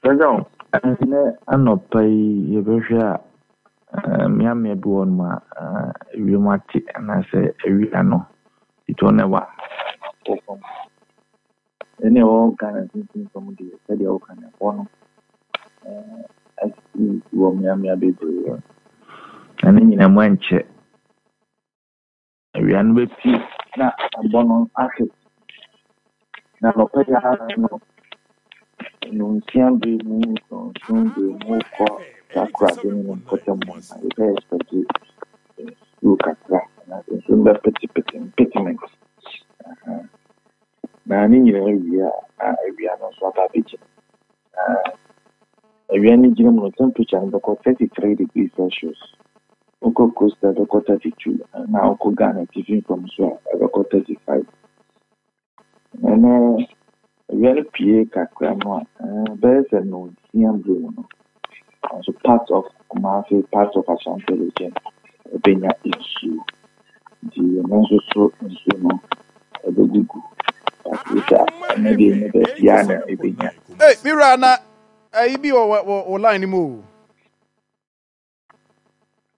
Sir John. Ɛnnɛ anɔpa yi yɛbɛhwɛ a, mmeammea bi wɔ hɔnom a ewiem ate anaasɛ awia no titɔ na ɛwɔ wɔ fam. Ɛne ɛwɔ Ghana mfimfini fam deɛ sɛdeɛ woka no ɛhɔ no asi wɔ mmeammea bebree. Na ne nyinaa mu ɛnkyɛ Awia no bɛpue na ɛbɔ no ahwe. Na anɔpa yi ara no, nnɔnsia bere mu, nnɔnson bere mu kɔ Takoradi ne ne mpɔtam hɔ no, yɛbɛ expect nsuo kakra anaasɛ nsuo no bɛpetepete mpetement. Na ne nyinaa wie a, na awia no nso aba abɛgyina. Na awia no gyina mu no, temperature no bɛkɔ 33 degrees Celsius. Wokɔ Coastal ɛbɛkɔ 32 na wokɔ Ghana atifi fam nso a ɛbɛkɔ 35. Ɛnɛ awia no pue kakra no a ɛbɛyɛ sɛ nnɔnsia bere mu no nso part of Kumasi, part of Ashanti region ɛbɛnya nsuo. Nti ɛno nso so nsuo no ɛbɛgugu. But wohwɛ a ɛnɛ deɛ ɛnyɛ baabiara na ɛbɛnya. Hey, me wura na ayi bi wɔ wɔ line no mu o.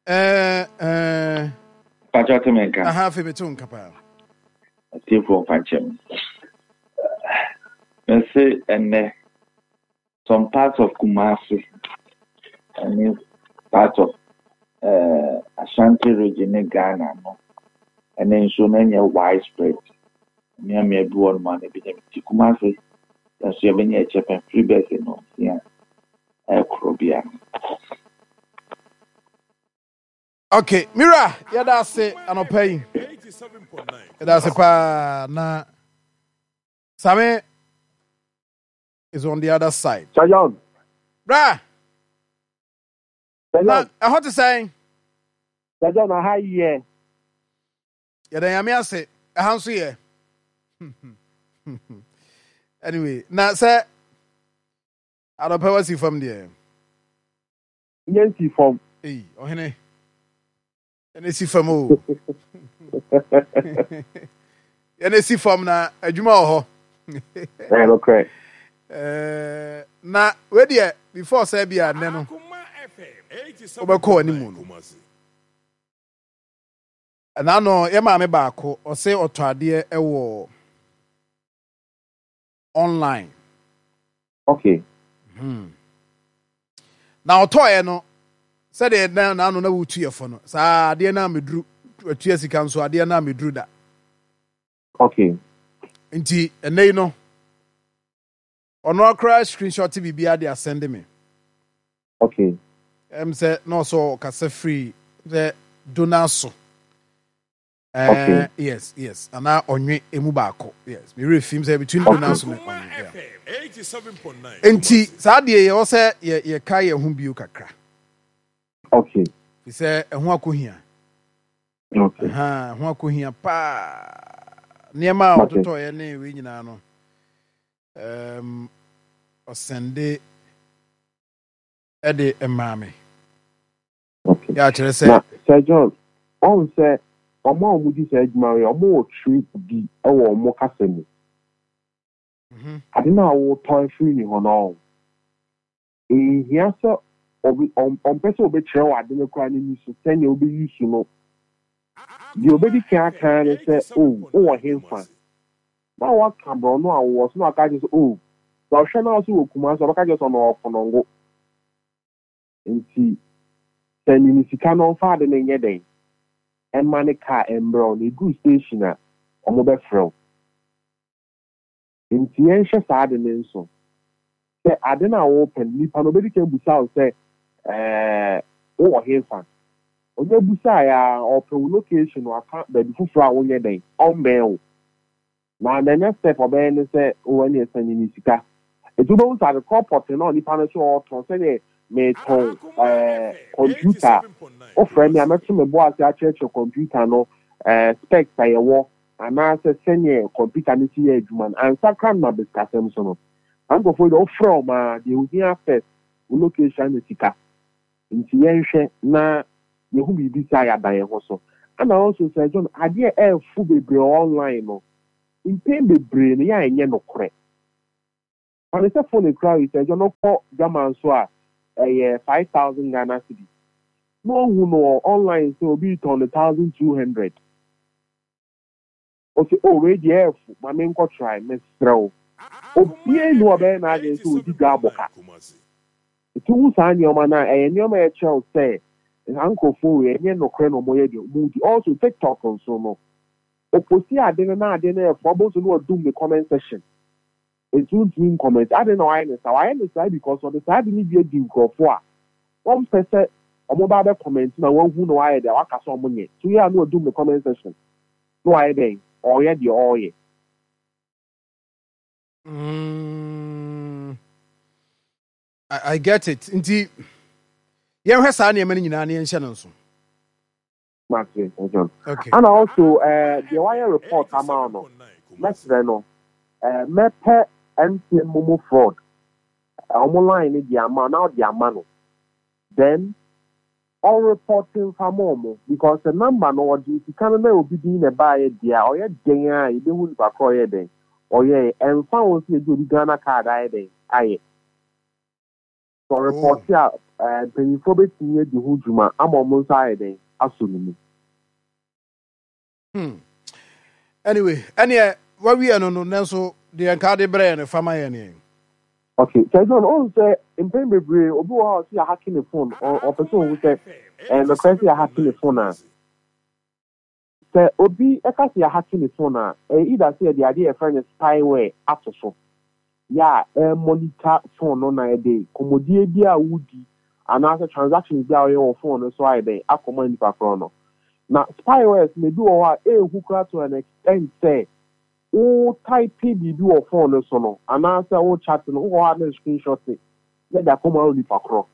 Ɛɛ ɛɛ. Pàtó te mi nka. Aha afei mi te nka paa. Atiefoɔ mfa nkyɛn mu. Mese ɛnɛ some parts of Kumasi ɛne part of uh, Ashanti region ne Ghana no ɛne nsuo no nyɛ widespread. Mmeammea bi wɔ nom a na ebi nyɛ ti Kumasi nso yɛbɛnya ɛkyɛ pɛn firi bɛsɛ no nsia. Ɛkoro bia. Okay, Mira, yɛda ase anɔpa yi. Yɛda ase paa na Same is on the other side. Sajon. Bra. Na ɛhɔ te sɛn? Sajon, aha yɛ. Yɛda Nyame ase, ɛha nso yɛ. Anyway, na sɛ Anɔpa wasi fam deɛ. Nyɛ nsi fam. Ei, ɔhene. Yɛn si fam o. Yɛn si fam na adwuma wɔ hɔ. Ɛyɛ nokorɛ. Eh, na wei deɛ before sɛ bi a nnɛ no wobɛkɔ w'anim no. Ɛna no yɛ maame baako ɔse ɔtɔ adeɛ wɔ online. Okay. Na ɔtɔeɛ no, sɛdeɛ na n'ano na wotu yɛ fo no, saa adeɛ no ameduru, atua sika nso adeɛ no ameduru da. Okay. Nti ɛnɛ yi no, ɔno akora screenshot biribiara de asɛnde me. Okay. Ɛm sɛ na ɔsɛ ɔkasa firi sɛ Donaso. Okay. Yes. Ana ɔnwe emu baako. Yes. Me werɛ fim sɛ between okay. Donald ne ɔnwe. Yeah. Nti saa deɛ yɛwɔ sɛ yɛ yɛka yɛn ho bio kakra. Okay. Fi sɛ ɛho akohia. Okay. Aha, ɛho akohia paa. Nneɛma a ɔtotɔeɛ ne wei nyinaa no. Um, ɔsɛnde ɛde maa me. Okay. Yɛ akyerɛ sɛ. Na Sir John, ɔn sɛ wɔn a wɔdi saa adwuma yi, wɔwɔ trick bi wɔ wɔn kasa mu. Ade no a wotɔ afiri ne hɔ no, ɔn, nhia sɛ ɔbe, ɔn, ɔmpɛ sɛ ɔbɛkyerɛ wo ade no koraa n'ani so sɛnea wobɛ use no. Deɛ ɔbɛdi kan aka ara ne sɛ, oh, wowɔ henfa? Na waka borɔno a wowɔ so na waka akyerɛ sɛ, oh, sɛ ɔhwɛ na ɔse wɔ Kumasi a, ɔbɛka akyerɛ sɛ ɔno ɔwɔ Konongo. Nti sɛ ne sika no ɔmfa ade no nyɛ dɛn mma ne car mbrɛ wo na eduru station a ɔmo bɛfrɛ wo. Nti yɛnhyɛ saa ade no nso sɛ ade no a wopɛ no nipa no obedi kan busa wo sɛ ɛɛ wowɔ henfa? Onya busae a ɔpɛ wo location waka baabi foforɔ a wonyɛ dɛn ɔmmɛn wo. Na the next step ɔbɛyɛ ne sɛ oh ɛneɛ sɛne me sika. Nti wobɛhu sɛ ade korɔ pɔtee na onipa no sɛ ɔɔtɔn sɛdeɛ meetɔn ɛɛ computer a, wofrɛ me a mɛto me bo ase akyerɛkyerɛ computer no ɛɛ specs a yɛwɔ anaasɛ sɛdeɛ computer no si yɛ adwuma no ansa koraa na maba sikasɛm so no. Saa nkurɔfoɔ yi deɛ wofrɛ wɔn a deɛ ohia first wo location ne sika. Nti yɛnhwɛ na yɛhu biribi saa a yɛada yɛn ho so. Ɛna also Sir John, adeɛ a ɛɛfo bebree online no, mpɛn bebree no yɛ a ɛnyɛ nokorɛ. Fa no sɛ phone ekura wo yi sɛ agya no kɔ dwaman so a ɛyɛ 5,000 Ghana cedis na wahu no wɔ online sɛ obi retɔn no 1,200. Ɔse oh wei deɛ ɛɛfo ma menkɔ try, mesrɛ wo obiara nni hɔ a ɔbɛyɛ n'adwene sɛ ɔdi dwa abɔ ka. Nti wohu saa nneɛma no a ɛyɛ nneɛma a ɛkyerɛ wo sɛ saa nkurɔfoɔ wei ɛnyɛ nokorɛ na wɔyɛ deɛ wɔdi. Also TikTok nso no ɔposti ade no na ade no ɛɛfo abɔ nso na wadum ne comment section. Nti wontumi nkɔmɛnte. Adɛn na wayɛ no saa? Wayɛ no saa because ɔde saa ade no bi adi nkurɔfoɔ a wɔmpɛ sɛ wɔba abɛ comment na wɔahu na wayɛ deɛ waka sɛ wɔnyɛ. Nti woyɛ a na wadum ne comment section na wayɛ dɛn? Ɔreyɛ deɛ ɔreyɛ. Mm, I, I get it. Nti yɛnhwɛ saa nneɛma no nyinaa na yɛnhyɛ no nso. Mate, John. Okay. And also, deɛ wayɛ report ama wo no, mɛsrɛ no, mɛpɛ MTN Momo fraud, wɔn line no de ama na ɔde ama no. Then, ɔreport nfa ma wɔn because sɛ number no ɔde sika no na obi din na ɛbaeɛ deɛ a, ɔyɛ dɛn a yɛbɛhu nipa korɔ ɔyɛ dɛn ɔyɛɛ. Ɛmfa ho sɛ yɛde obi Ghana card ayɛ dɛn ayɛ. Sɛ ɔrepɔte a, mpanyimfoɔ bɛtumi adi ho dwuma ama wɔn nsa ayɛ dɛn asɔ ne mu. Hmm. Anyway, ɛneɛ wawie no no, nanso deɛ nka de brɛ yɛ no fa ma yɛn neɛ. Okay, sɛ John, ɔn sɛ mpɛn bebree obi wɔ hɔ a ɔsɛ yɛahake ne phone, ɔpɛ sɛ ɔhu sɛ ɛyɛ nokorɛ sɛ yɛahake ne phone a. Sɛ obi ka sɛ yɛahake ne phone a, ɛyɛ either sɛ yɛde adeɛ a yɛfrɛ no spyware ato so, yɛ a ɛremonitor phone no na ɛde nkɔmmɔdie bi a wodi anaasɛ transactions bi a woyɛ wɔ phone no so ayɛ dɛn akɔma nipa korɔ no. Na spywares no ebi wɔ hɔ a ɛnhu koraa to an extent sɛ wo type biribi wɔ phone no so no anaasɛ wo chat no wowɔ hɔ a na screenshot na ɛde akɔma onipa korɔ.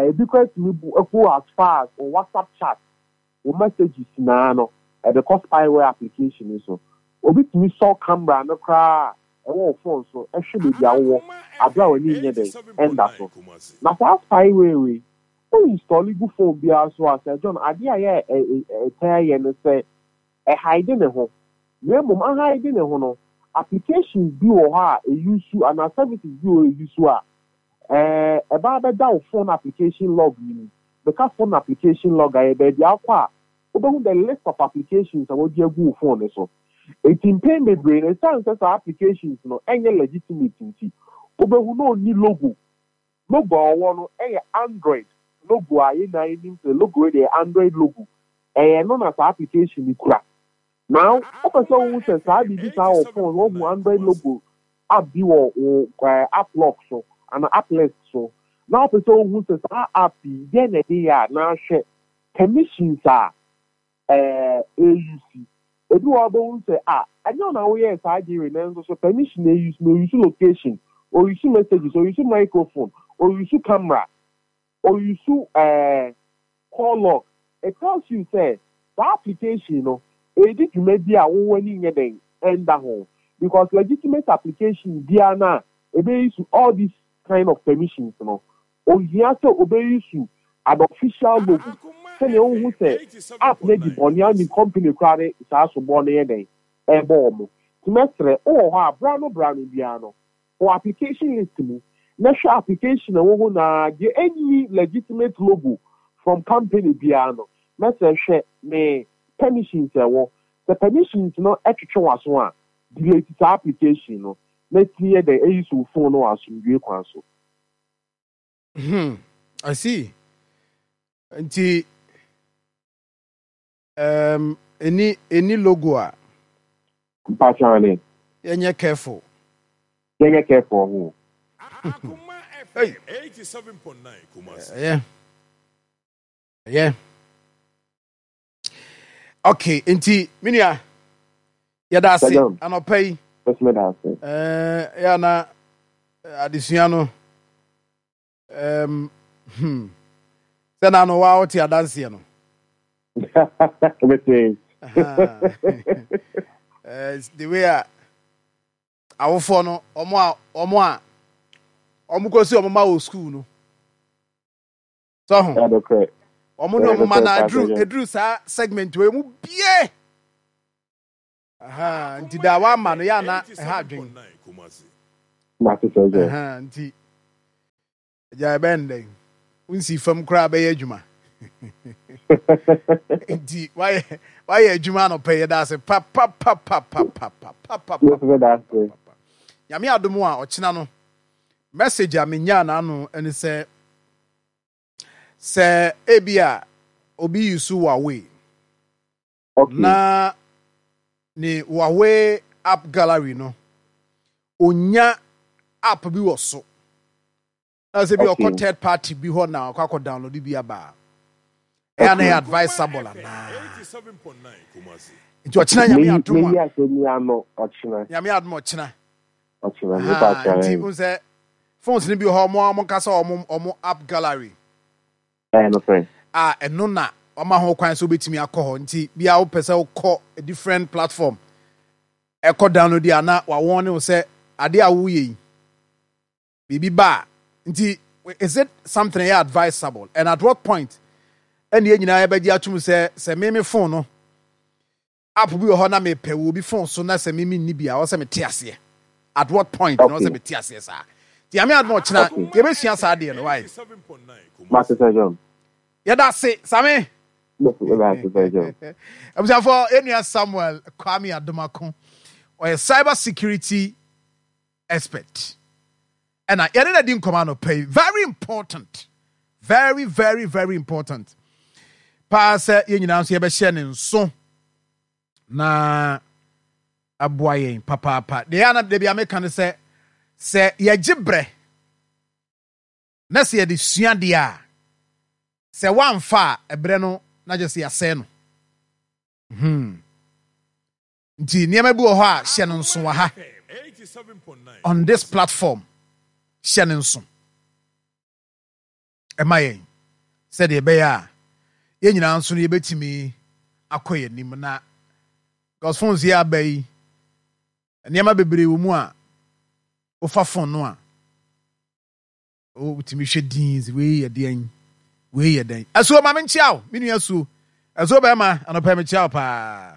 Ebi koraa tumi bu go as far as wo WhatsApp chat Wo messages nyinaa no, ɛde kɔ spyware application yi so. Obi tumi sɔ camera no koraa a ɛwɔ wo phone so hwɛ baabi a wowɔ bere a w'ani nyɛ dɛn ɛnda so. Na saa spyware wei, wo install gu phone biara so a, Sir John, adeɛ a ɛyɛ a ɛtaa yɛ ne sɛ, ɛhide ne ho. Na mmom ahide ne ho no, applications bi wɔ hɔ a ɛuse anaa services bi wɔ hɔ a ɛuse a, ɛba abɛda wo phone application log no mu. Meka phone application log a, ɛyɛ baabi a wokɔ a wobɛhu the list of applications a wɔde agu wo phone no so. Enti mpɛn bebree no, ɛsiane sɛ saa applications no nyɛ legitimate nti, wobɛhu na ɔnni logo. Logo a ɔwɔ no yɛ Android logo a yɛn nyinaa yɛnim sɛ logo wei deɛ ɛyɛ Android logo. Ɛyɛ ɛno na saa application no kura. Now, wopɛ sɛ wohu sɛ saa biribi saa wɔ phone, woahu Android logo app bi wɔ wo app lock so anaa app list so, na wopɛ sɛ wohu sɛ saa app yi deɛn na ɛde yɛ a, na hwɛ permissions a ɛuse. Ebi wɔ hɔ a wobɛhu sɛ ah, ɛnyɛ wo na woyɛɛ saa adeɛ wei nanso so permission na ɛuse no, ɔuse location, ɔuse messages, ɔuse microphone, ɔuse camera, ɔuse call log. It tells you sɛ saa application no ɛredi dwuma bi a wo w'ani nyɛ dɛn ɛnda ho because legitimate application biara no a ɛbɛ use all these kind of permissions no ɔnhia sɛ ɔbɛ use an official logo sɛnea wohu sɛ app no adi bɔne a wonim company koraa de saa sobɔ no yɛ dɛn ɛrebɔ wɔn. Nti mɛsrɛ wowɔ hɔ a berɛ ano berɛ ano biara no Kɔ application list mu na hwɛ application a ɛwɔ hɔ nyinaa, deɛ ɛnni legitimate logo from company biara no, mɛsrɛ hwɛ ne permissions a ɛwɔ. Sɛ permissions no twetwe w'aso a, delete saa application no na tumi yɛ dɛn use wo phone no wɔ asomdwoe kwan so. Hmm, I see. Nti Um, ɛni ɛni logo a. Mpakyɛw ne. Yɛnyɛ careful. Yɛnyɛ careful ho. Hey. Ɛyɛ. Ɛyɛ. Okay, nti me nua yɛda ase anɔpa yi. Ɛɛ yɛ na adesua no. Um, hmm. Sɛ na no wa wote adanseɛ no. Mete. The way a awofoɔ no ɔmo a ɔmo a ɔmo kɔ si ɔmo ma wɔ school no. Sɛ ho. Ɔmo ne ɔmo ma na eduru eduru saa segment wɔ emu bie. Aha, nti da wama no yɛ ana ɛha adwen. Mate sɛ sɛ. Nti agya ɛbɛn dɛn? Wonsi fam koraa bɛyɛ adwuma. Nti wayɛ wayɛ adwuma anɔpɛ yɛda ase papapapapapapapapa. Nyame adom a ɔkyena no message a menyaa n'ano ne sɛ sɛ ebi a obi use Huawei na ne Huawei app gallery no onya app bi wɔ so na sɛ bi ɔkɔ third party bi hɔ na ɔkɔ akɔ download bi aba a ɛyɛ na ɛyɛ advisable anaa? Nti ɔkyena Nyame adom a Nyame adom ɔkyena nti n sɛ phones no bi wɔ hɔ ɔmo ɔmo nkasa ɔmo ɔmo app gallery a ɛno na ɔma ho kwan sɛ wobɛtumi akɔ hɔ. Nti bia wopɛ sɛ wokɔ a different platform ɛkɔ download a, na wawɔn ne wo sɛ adeɛ a woyɛ yi biribi ba a. Nti is it something ɛyɛ advisable, and at what point ɛne yɛn nyinaa yɛbɛgye atum sɛ sɛ me me phone no app bi wɔ hɔ na mepɛ wɔ obi phone so na sɛ me menni bi a ɔwɔ sɛ mete aseɛ? At what point na ɔwɔ sɛ mete aseɛ saa? Nti Nyame adom ɔkyena yɛbɛsua saa adeɛ no. Wae. Mate sɛ John. Yɛda ase Same. Abusuafoɔ, yɛnua Samuel Kwame Adomako, ɔyɛ cyber security expert ɛna yɛne no adi nkɔmɔ anɔpa yi. Very important, very very very important paa sɛ yɛn nyinaa nso yɛbɛhyɛ ne nso na aboa yɛn papaapa. Deɛ ana deɛ bi ameka no sɛ sɛ yɛgye brɛ na sɛ yɛde sua deɛ a, sɛ woamfa a ɛbrɛ no na kyerɛ sɛ yɛasɛe no. Nti nneɛma bi wɔ hɔ a hyɛ no nso wɔ ha on this platform, hyɛ no nso ɛma yɛn sɛdeɛ ɛbɛyɛ a yɛn nyinaa nso no yɛbɛtumi akɔ yɛn anim. Na because phones yi aba yi, nneɛma bebree wɔ mu a wofa phone no a wotumi hwɛ din sɛ wei yɛ deɛn, wei yɛ dɛn. Asuo, ma menkyea wo, me nua Asuo. Asuo bɛrima, anɔpɛ mekyea wo paa.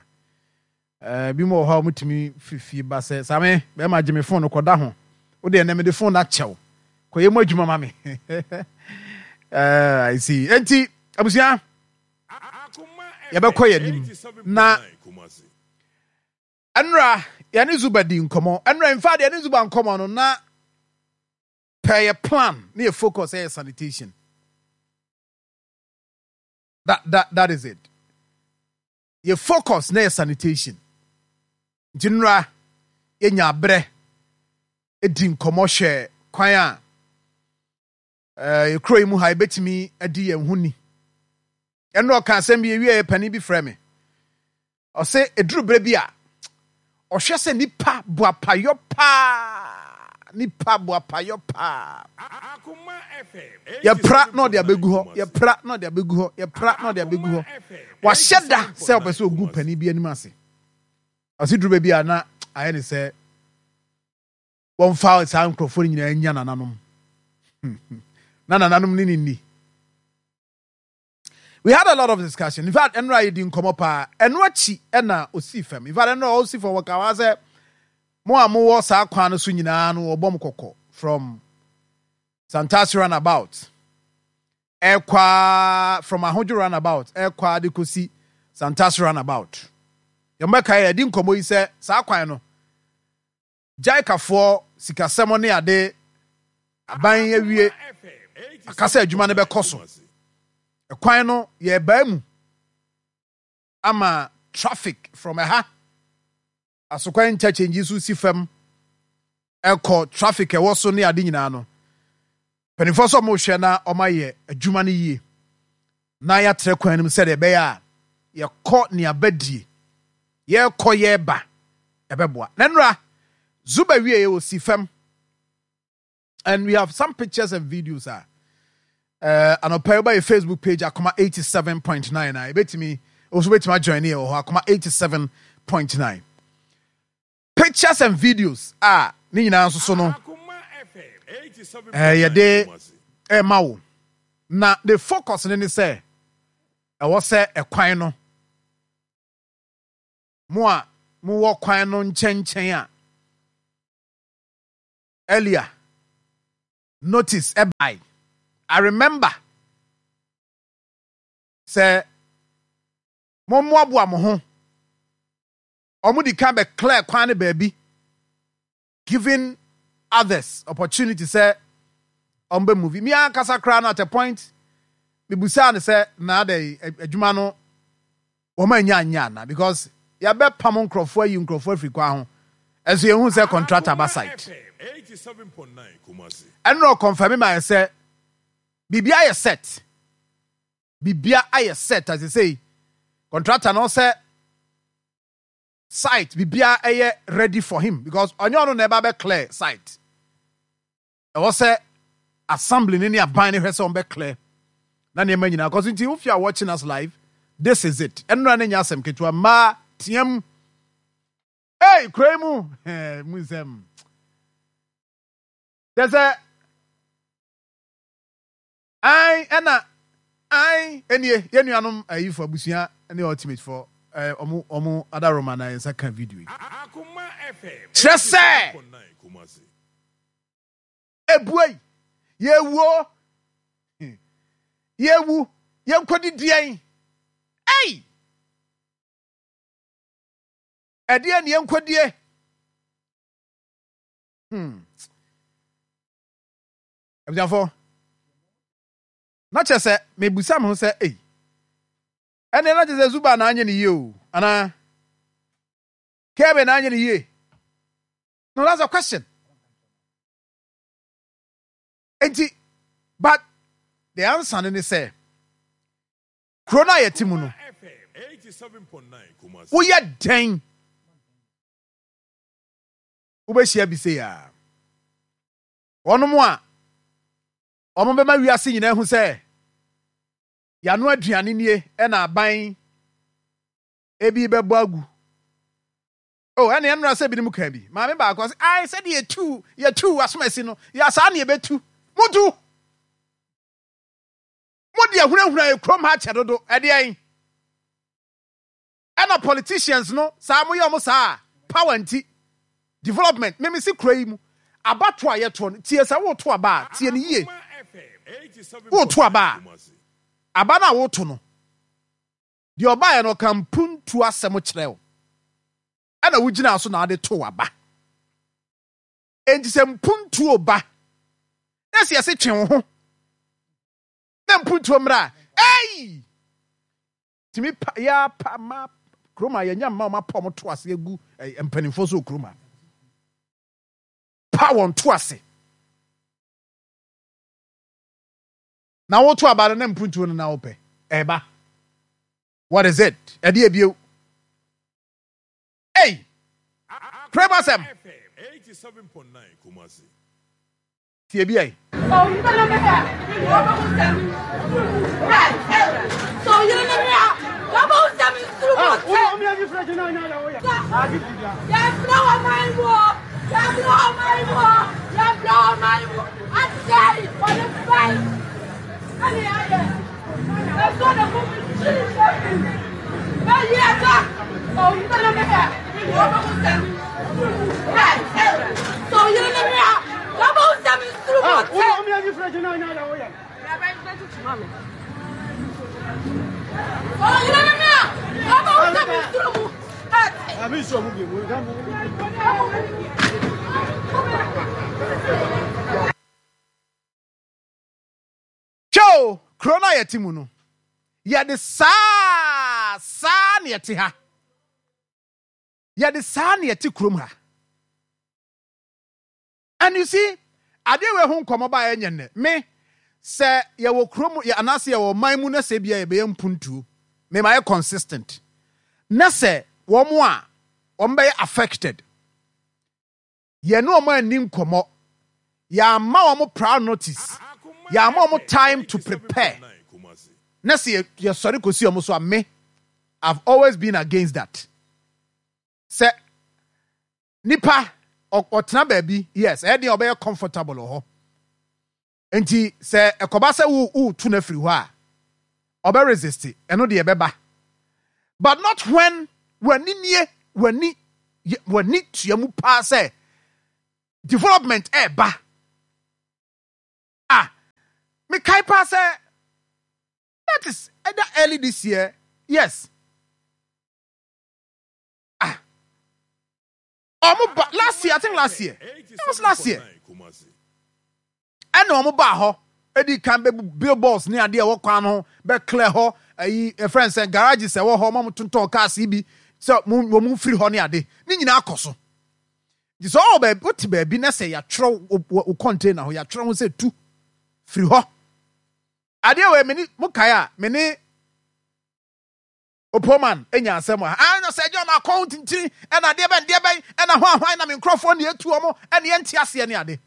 Bi mu wɔ hɔ a wɔtumi firi fie ba sɛ, Same bɛrima, gye me phone no kɔda ho, wo deɛ ɛnɛ mede phone no akyɛ wo, kɔyɛ mu adwuma ma me. I see. Enti abusua, yɛbɛkɔ yɛn anim na ɛnora yɛne Zuba di nkɔmmɔ. Ɛnora in fact yɛne Zuba nkɔmmɔ no na pɛ yɛ plan ne yɛ focus ɛyɛ sanitation. That is it. Yɛ focus na yɛ sanitation. Nti nnora yɛnya aberɛ di nkɔmmɔ hwɛ kwan a yɛ kuro yi mu ha yɛbɛtumi adi yɛn ho ni. Ɛnna ɔka asɛm bi ewie, yɛ panin bi frɛ me, ɔsɛ eduru berɛ bi a ɔhwɛ sɛ nipa boapayɔ paa, nipa boapayɔ paa, yɛpra na ɔde abɛgu hɔ, yɛpra na ɔde abɛgu hɔ, yɛpra na ɔde abɛgu hɔ. Wahyɛ da sɛ ɔpɛ sɛ ɔgu panin bi anim ase. Ɔsɛ duru baabi a na ayɛ ne sɛ wɔmfa saa nkurɔfoɔ no nyinaa nya nananom na nananom ne ne nni. We had a lot of discussion. In fact, ɛnora yɛdi nkɔmmɔ paa. Ɛno akyi ɛna ɔsii fam. In fact, ɛnora ɔsi fam wɔka wa sɛ mo a mowɔ saa kwan no so nyinaa no wɔbɔ mo kɔkɔ from Santasi roundabout ɛkɔ from Ahodwo roundabout ɛkɔ de kɔsi Santasi roundabout. Yɛmmɛka yɛdi nkɔmmɔ yi sɛ saa kwan no JICAfoɔ sikasɛm ne ade aban awie aka sɛ adwuma no bɛkɔ so. Ɛkwan no yɛrebaa mu ama traffic from ɛha Asokwan interchange yi so si fam ɛkɔ traffic ɛwɔ so ne ade nyinaa no, mpanimfoɔ sɛ wɔrehwɛ na wɔayɛ adwuma no yie na yɛatrɛ kwan no mu sɛdeɛ ɛbɛyɛ a yɛkɔ nea badie yɛrekɔ yɛreba ɛbɛboa. Na nnora Zuba wie wɔ si fam and we have some pictures and videos a anɔpa yi woba yɛ Facebook page Akoma 87.9 a ebetumi nso betumi ajoin yɛ wɔ hɔ Akoma 87.9 pictures and videos a ne nyinaa nso so no yɛde ɛma wo. Na the focus ne ne sɛ ɛwɔ sɛ ɛkwan no mo a mowɔ kwan no nkyɛnkyɛn a. Earlier notice ɛbae. I remember sɛ mommoaboa mo ho. Wɔn di kan bɛ clear kwan no baabi, giving others opportunity sɛ wɔn bɛ move. Mi ankasa koraa no at a point mibusaa no sɛ na adɛ adwuma no wɔn anya anyɛ ana because yɛabɛ pam nkorɔfoɔ ayi nkorɔfoɔ afiri kwan ho ɛnso yɛn hu sɛ contractor ba site. Ɛnna ɔkɔnfɛmi ma yɛ sɛ biribi ayɛ set. Bibia ayɛ set a sesei contractor no sɛ site bibia ɛyɛ ready for him because ɔnyɛ ɔno na ɛba bɛ clear site. Ɛwɔ sɛ assembly no ne aban no hwɛ sɛ wɔn bɛ clear na nneɛma nyinaa kɔ so nti if you are watching us live this is it. Ɛnora ne nyɛ asɛm ketewa mmaa team. Hey kuro yi mu mu nsɛm. Kyɛ sɛ Ae ɛna ae ɛnie yɛn nuanom ayifo abusua ne ultimate fɔ ɛɛ ɔmo ɔmo adaroma na yɛn nsa ka video yi. Kyerɛ sɛ ebuei yɛwuo yɛwu yɛnkɔdi deɛn ei ɛdeɛn ne yɛnkɔdie hmm. Abusuafo, na kyerɛ sɛ mebisa me ho sɛ, ei, ɛnneɛ na kyerɛ sɛ Zuba na anyɛ ne yie o, anaa Kebe na anyɛ ne yie? No, that's a question. Enti, but the answer ne sɛ, kuro no a yɛte mu no, woyɛ dɛn wobɛhyia bi sei a? Wɔnom a wɔbɛma wiase nyinaa ahu sɛ yɛano aduane nie na aban ebi bɛbɔ agu. Oh, ɛne ɛnora sɛ binom ka bi. Maame baako ɔse, ai sɛdeɛ yɛtu yɛtu asomasi no, yɛ saa na yɛbɛtu. Motu! Mode ahunahuna yɛ kurom ha kyɛ dodo. Ɛdeɛn? Ɛna politicians no saa mo yɛ ɔmo saa a power nti development me mese kuro yi mu abatoɔ a yɛtoɔ no tie sɛ woto aba a tie no yie woto aba a aba no a woto no deɛ ɔbaeɛ no ɔka mpuntuo asɛm kyerɛ wo ɛna wogyinaa so na ade to aba enti sɛ mpuntuo ba na sɛ yɛse twe wo ho na mpuntuo mmra a ei Tumi pa yɛ pa ma kurom a yɛnya mma wɔn apa wɔn to ase agu mpanimfoɔ so wɔ kurom a pa wɔn to ase na woto aba no na mpuntuo no na wopɛ ɛba what is it ɛde ebio ei kurom asɛm. Tie bi ɛ. Hwɛ o, kuro no a yɛte mu no, yɛde saa saa na yɛte ha. Yɛde saa na yɛte kurom ha. And you see, adeɛ wei ho nkɔmmɔ ba ɛnyɛ nnɛ. Me, sɛ yɛwɔ kurom anaasɛ yɛwɔ ɔman mu na sɛ ebia yɛbɛyɛ mpuntuo, me ma yɛ consistent. Na sɛ wɔn a wɔn bɛyɛ affected, Yɛne wɔn anni nkɔmmɔ. Yɛamma wɔn prior notice. Yɛamma wɔn time to prepare. Na sɛ yɛsɔre kɔsi wɔn so a, me, I've always been against that. Sɛ nipa ɔtena baabi, yes, ɛyɛ deɛ ɔbɛyɛ comfortable wɔ hɔ. Nti sɛ ɛkɔba sɛ wo wotu no afiri hɔ a, ɔbɛ resist, ɛno deɛ ɛbɛba. But not when w'ani nie, w'ani w'ani tua mu paa sɛ. Development ɛɛba. Ah, mekae paa sɛ that is either early this year, yes. Ah, ɔmo ba last year, I think last year. It was last year. Ɛna ɔmo baa hɔ edi kan bɛ billboards ne adeɛ ɛwɔ kwan ho bɛ clear hɔ ɛyi ɛfrɛ nsɛn garages ɛwɔ hɔ ɔmo tontɔn cars yi bi sɛ mo wɔn firi hɔ ne ade ne nyinaa kɔ so. Nti sɛ ɔwɔ baabi wote baabi na sɛ yɛatwerɛ wo container ho yɛatwerɛ ho sɛ tu firi hɔ adeɛ wei mene mo kae a mene Opoman nya asɛm wɔ ha. Ah, na sɛ John akɔ ho tintini ɛna adeɛ bɛn deɛ bɛn ɛna hwan hwan na me nkurɔfoɔ ne etu wɔn ɛne yɛnte aseɛ ne ade.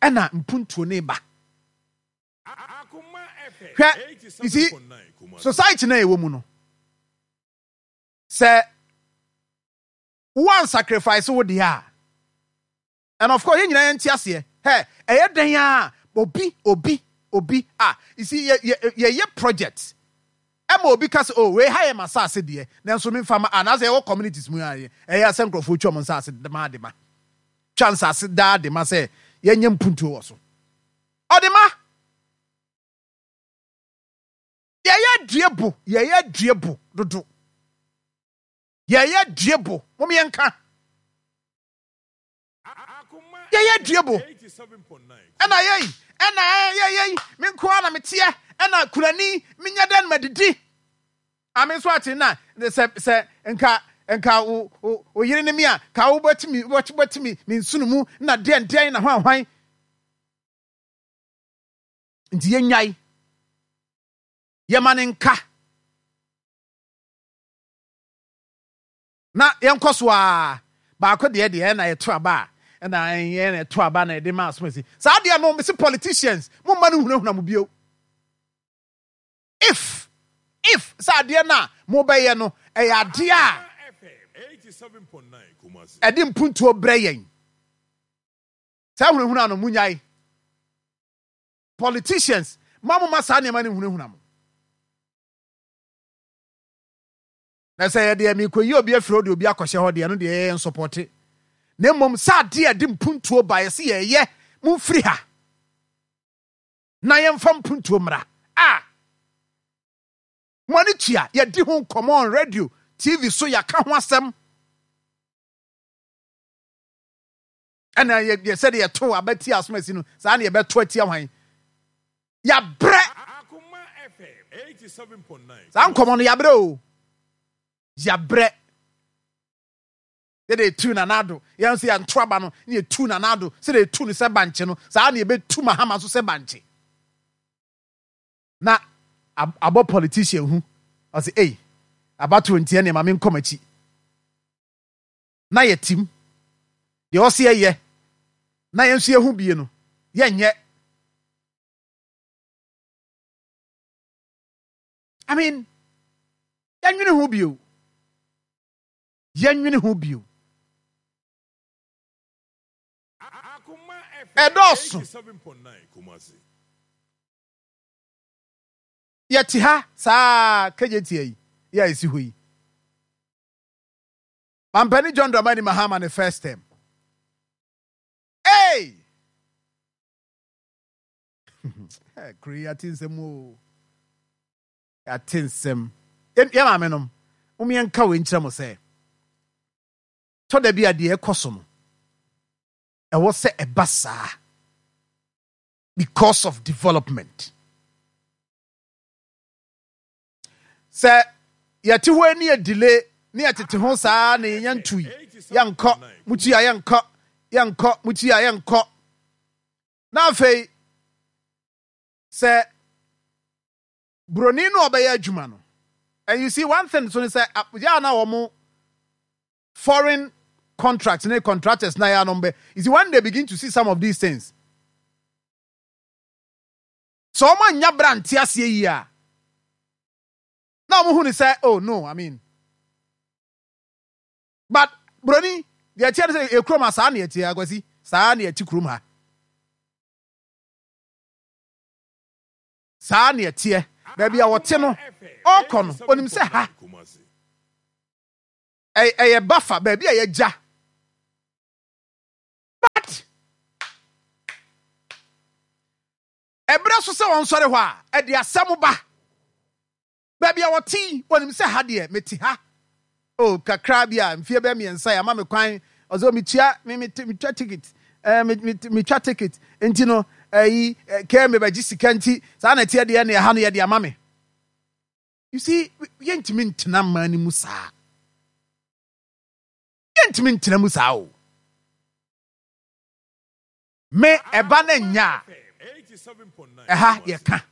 Ɛna mpuntuo ne ba. Hwɛ, you see, society na ɛwɔ mu no, sɛ woan sacrifice wo deɛ a, and of course yɛn nyinaa yɛnte aseɛ, hɛ, ɛyɛ dɛn a obi, obi, obi a, you see, yɛ, yɛ, yɛyɛ project, ɛma obi ka sɛ, oh, wei ha yɛ m'asase deɛ, nanso memfa ma, anaasɛ yɛwɔ communities mu a, ɛyɛ sɛ nkurɔfoɔ twa wɔn nsase ma de ma, twa nsase daa de ma sɛ yɛnyɛ mpuntuo wɔ so. Ɔde ma. Yɛyɛ due bo, yɛyɛ due bo dodo. Yɛyɛ due bo, mom yɛnka. Yɛyɛ due bo. Ɛna yɛyi, ɛna yɛyɛ yi, me nko ara na meteɛ, ɛna kunani, menyɛ dɛn madidi. Ame nso ate na sɛ sɛ nka nka wo wo wo yere ne me a, ka wobɛtumi wobɛtumi me nsono mu na deɛn deɛn na hwan hwan. Nti yɛnyae. Yɛma no nka. Na yɛnkɔ so ara. Baako deɛ deɛ ɛna yɛto aba a ɛna ɛyɛ na ɛto aba na yɛde ma asomasi. Saa deɛ no mese politicians mo mma no hunahuna mo bio. If if sɛ adeɛ no a mobɛyɛ no ɛyɛ adeɛ a ɛde mpuntuo brɛ yɛn. Saa hunahuna no munyae. Politicians, ma mo ma saa nneɛma no nhunahuna mo. Na sɛ yɛ deɛ mekɔyi obi afiri hɔ de obi akɔhyɛ hɔ deɛ ɛno deɛ yɛyɛ nsɔpɔte. Na mmom sɛ adeɛ a ɛde mpuntuo ba yɛse yɛyɛ momfiri ha na yɛmfa mpuntuo mmra a mo ani tua yɛdi ho nkɔmmɔ on radio TV so yɛaka ho asɛm. Ɛna yɛ yɛ sɛdeɛ yɛto aba tia asomasi no saa na yɛbɛto atia hwan yɛabrɛ saa nkɔmmɔ no yɛabrɛ o yɛabrɛ yɛde etu nanado yɛn nso yɛnto aba no ne yɛtu nanado sɛdeɛ etu no sɛ bankye no saa na yɛbɛtu mahama nso sɛ bankye na abɔ politician hu ɔsɛ ei abatoɔ nti ɛne ma menkɔ m'akyi na yɛtim. Deɛ ɔse yɛyɛ na yɛn nso yɛhu bie no, yɛnyɛ. I mean, yɛnwene ho bio. Yɛnwene ho bio. Ɛdɔɔso. Yɛte ha saa kagyetia yi yɛ a ɛsi hɔ yi. Mampanin John Dramani Mahama ne first term. Hey! Kuro yi ate nsɛm o. Ate nsɛm. Yɛ maame nom, mom yɛnka wei nkyerɛ mo sɛ, tɔ da bi a deɛ ɛkɔ so no, ɛwɔ sɛ ɛba saa because of development. Sɛ yɛte hɔ ani adile ne yɛtete ho saa na yɛnya ntui, yɛnkɔ, mutua yɛnkɔ, yɛnkɔ, mutua yɛnkɔ. Na afei sɛ buroni no ɔbɛyɛ adwuma no, and you see one thing so ne sɛ yɛ a na wɔn foreign contracts ne contractors na yɛ anom bɛ, you see when they begin to see some of these things, Sɛ wɔn annya bere ante aseɛ yie a, na wɔn hu no sɛ, oh no, I mean. But broni, deɛ ɛteɛ no sɛ yɛ kurom ha saa na ɛteɛ akwasi, saa na ɛte kurom ha. Saa na ɛteɛ. Baabi a wɔte no, ɔkɔ no, onim sɛ ha. Ɛyɛ bafa baabi a yɛgya. But ɛberɛ so sɛ wɔnsɔre hɔ a, ɛde asɛm ba. Baabi a wɔte yi, wɔnim sɛ ha deɛ, mete ha. Oh, kakra bi a, mfeɛ bɛyɛ mmiɛnsa yi, ama me kwan. Ɔsɛ, oh, metua, me, me, metwa ticket. Eh, me, me, metwa ticket. Nti no, ɛyi, eh, kɛɛ mebɛgye sika nti, saa na ɛteɛ deɛ, ne ɛha no yɛde ama me. You see, yɛntumi ntena mmaa no mu saa. Yɛntumi ntena mu saa o. Me, ɛba no nya a, ɛha yɛka.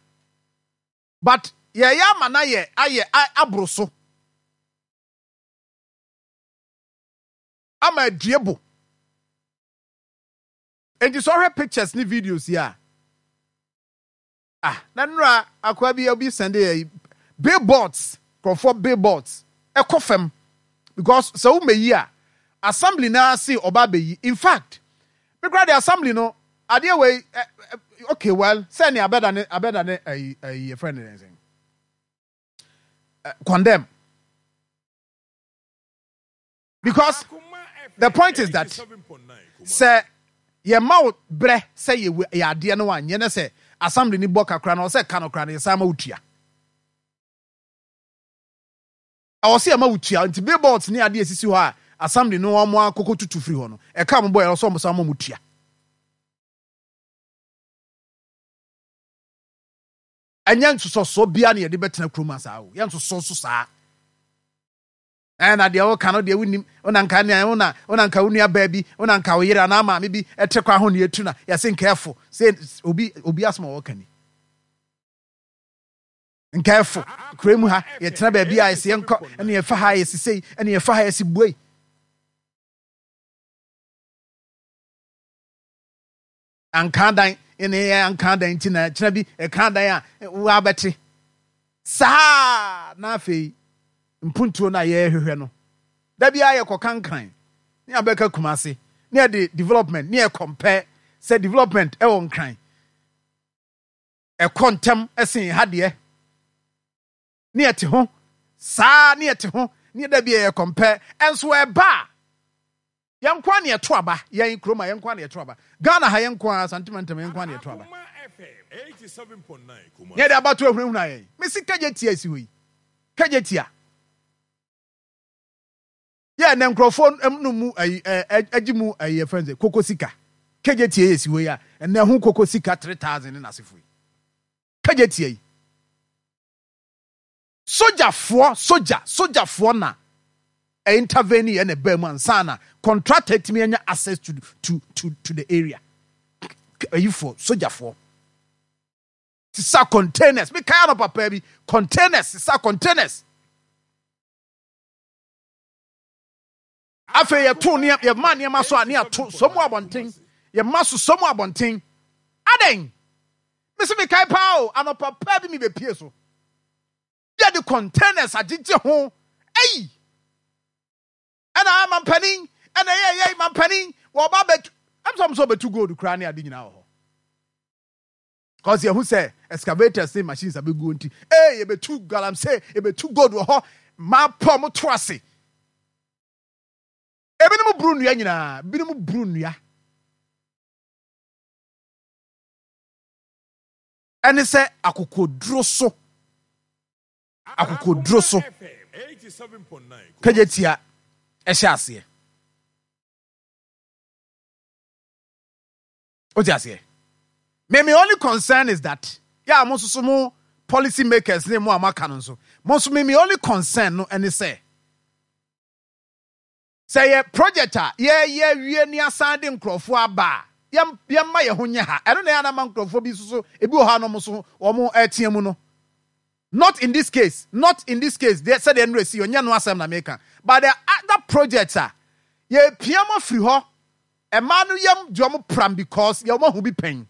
But yɛyɛ ama no ayɛ ayɛ aboro so. Ama adue bo. Enti sɛ ɔhwɛ pictures ne videos yi a, ah, na nnora akoa bi obi sɛnde yɛ billboards, nkurɔfoɔ billboards ɛkɔ fam because sɛ womɛyi a assembly no ara se ɔba abɛyi. In fact, me koraa de assembly no adeɛ wei eh, eh, okay well sɛ ne abɛda ne abɛda ne ayi ayi yɛfrɛ ne sɛn condemn because the point is that sɛ yɛma wo brɛ sɛ yɛ yɛ adeɛ no anyɛ ne sɛ assembly ni bɔ kakra na ɔsɛ ka no kora no yɛsan ma wo tua. Ɛwɔ sɛ yɛma wotua. Nti billboards ne adeɛ esisi hɔ a assembly no wɔn akoko tutu firi hɔ no, ɛka wɔn bɔ yɛ ɛwɔ sɛ wɔn san ma wɔn tua. Ɛnyɛ nsosɔsoɔ biara na yɛde bɛtena kurom ha saa o. Yɛn nsosɔ so saa. Ɛna deɛ woka no deɛ wonim, wona nka nea wona wona nka wo nua baa bi, wona nka wo yere anaa maame bi ɛte kwan ho na yɛtu na yɛse nka ɛfo sɛ obi obi asɛm a wɔka ni. Nkaefo, kurow mu ha, yɛtena baabi a yɛse yɛnkɔ, ɛne yɛfa ha yɛsi sei, ɛne yɛfa ha yɛsi buei. Anka dan, ɛne yɛ anka dan nti na kyena bi ɛka dan a wabɛte. Saa na afei mpuntuo no a yɛrehwehwɛ no, da biara yɛkɔ kankran ne abɛka Kumase ne yɛde development ne yɛ compare sɛ development ɛwɔ Nkran. Ɛkɔ ntɛm sen ha deɛ. Ne yɛte ho saa ne yɛte ho ne da bi yɛ kɔmpɛ ɛnso ɛba a yɛn nko ara na yɛto aba yɛn kurom a yɛn nko ara na yɛto aba Ghana ha yɛn nko ara Asante mantam yɛn nko ara na yɛto aba ne yɛde abato ahunahuna yɛn mesi kagye tia esi hɔ yi kagye tia. Yɛ na nkurɔfoɔ no mu ayi ɛ agye mu ayi yɛfrɛ no sɛ koko sika kegye tie yɛ si hɔ yi a ɛnɛ ho koko sika 3000 ne n'asefo yi kegye tie yi sogyafoɔ sogya sogyafoɔ na intervene yɛ na ɛbaa mu ansa na contractor atumi anya access to to to to the area ayifoɔ sogyafoɔ sisa containers mekae anɔpa paa bi containers sisa containers. Afei yɛto nneɛma, yɛma nneɛma so a ne yɛato sɔ mu abɔnten. Yɛma so sɔ mu abɔnten. Adɛn? Mese mekae paa o, anɔpa paa bi mebɛpie so. Yɛde containers agyegye ho. Ei! Ɛna mampanin, ɛna ɛyɛ ɛyɛ mampanin, wɔba bɛtu, ɛm sɛ ɔmo sɛ ɔbɛtu gold koraa ne ade nyinaa wɔ hɔ. Cause yɛhu sɛ excavators ne machines abɛguo nti, ee yɛbɛtu galamsey, yɛbɛtu gold wɔ hɔ, mmaa pɔ ɔmo to ase. Ebinom buru nnua nyinaa, binom buru nnua. Ɛne sɛ akokoduro so, akokoduro so, kagya tia ɛhyɛ aseɛ. Wote aseɛ? Me me only concern is that yɛ a mo nso so mo policy makers ne mo a moaka no nso mo nso me me only concern no ɛne sɛ sɛ yɛ project a yɛyɛ wie ne asan de nkurɔfoɔ aba a yɛm yɛmma yɛn ho nyɛ ha. Ɛno na ɛyɛ anama nkurɔfoɔ bi nso so ebi wɔ hɔ a na wɔn nso wɔn ɛteɛ mu no. Not in this case, not in this case deɛ sɛdeɛ nnura si ɔnyɛ no asɛm na meka but the other projects a yɛpia mo afiri hɔ. Ɛmaa no yam de ɔmo pram because yɛ ɔmo ahu bi pɛn.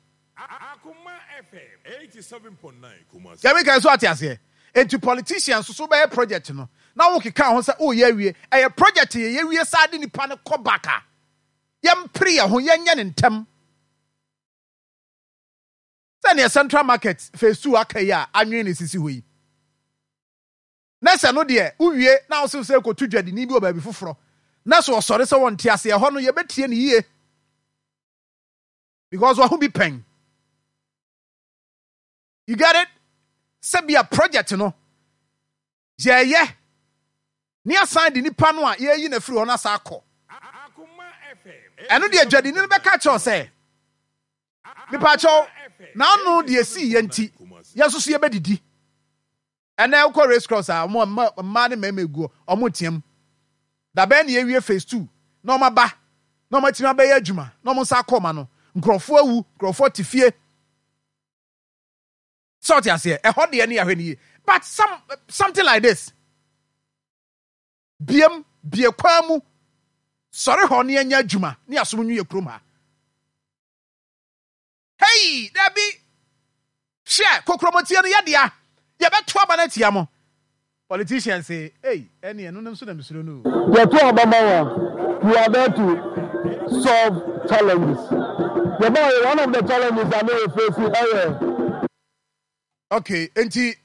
Deɛ meka yi so ate aseɛ? Enti politicians nso so bɛyɛ project no na wo keka ho sɛ woyɛ awie. Ɛyɛ project yɛ yɛwie saa de nipa no kɔ back a, yɛmpere yɛn ho yɛnyɛ no ntɛm. Sɛdeɛ Central Market phase 2 aka yi a anwene na esisi hɔ yi. Na sɛ no deɛ wowie na wo sɛ kɔtu dwadini bi wɔ baabi foforɔ na sɛ ɔsɔre sɛ wɔnte ase, ɛhɔ no yɛbɛtie no yie because waho bi pɛn. You get it? Sɛ bia project no yɛyɛ ne asan de nipa no a yɛyi no afiri hɔ no asa akɔ, ɛno deɛ dwadini no bɛka kyerɛw sɛ mepaakyɛw n'ano deɛ sii yɛ nti yɛn nso so yɛbɛdidi. Ɛnɛ wokɔ Race Cross a, wɔn mma mmaa ne mmarima egu hɔ, wɔn team. Dabɛn na yɛwie phase 2 na wɔn aba na wɔn atumi abɛyɛ adwuma na wɔn nsa akɔ wɔn ano. Nkurɔfoɔ awu, nkurɔfoɔ te fie. Sɛ ɔte aseɛ, ɛhɔ deɛ ne yɛahwɛ no yie. But something like this, biem, bie kwan mu, sɔre hɔ ne yɛnyɛ adwuma ne yɛasom nwi yɛ kurom ha. Hey, dabi! Hwɛ, kokromɔtie no yɛ dea. Yɛbɛto aba no atia mo. Politicians say, hey, ɛne ɛno no nso na mesuro no o. Yɛto aba ma wo a, you are there to solve challenges. Yɛbaeɛ, one of the challenges a na yɛ face ɛyɛ. Okay, enti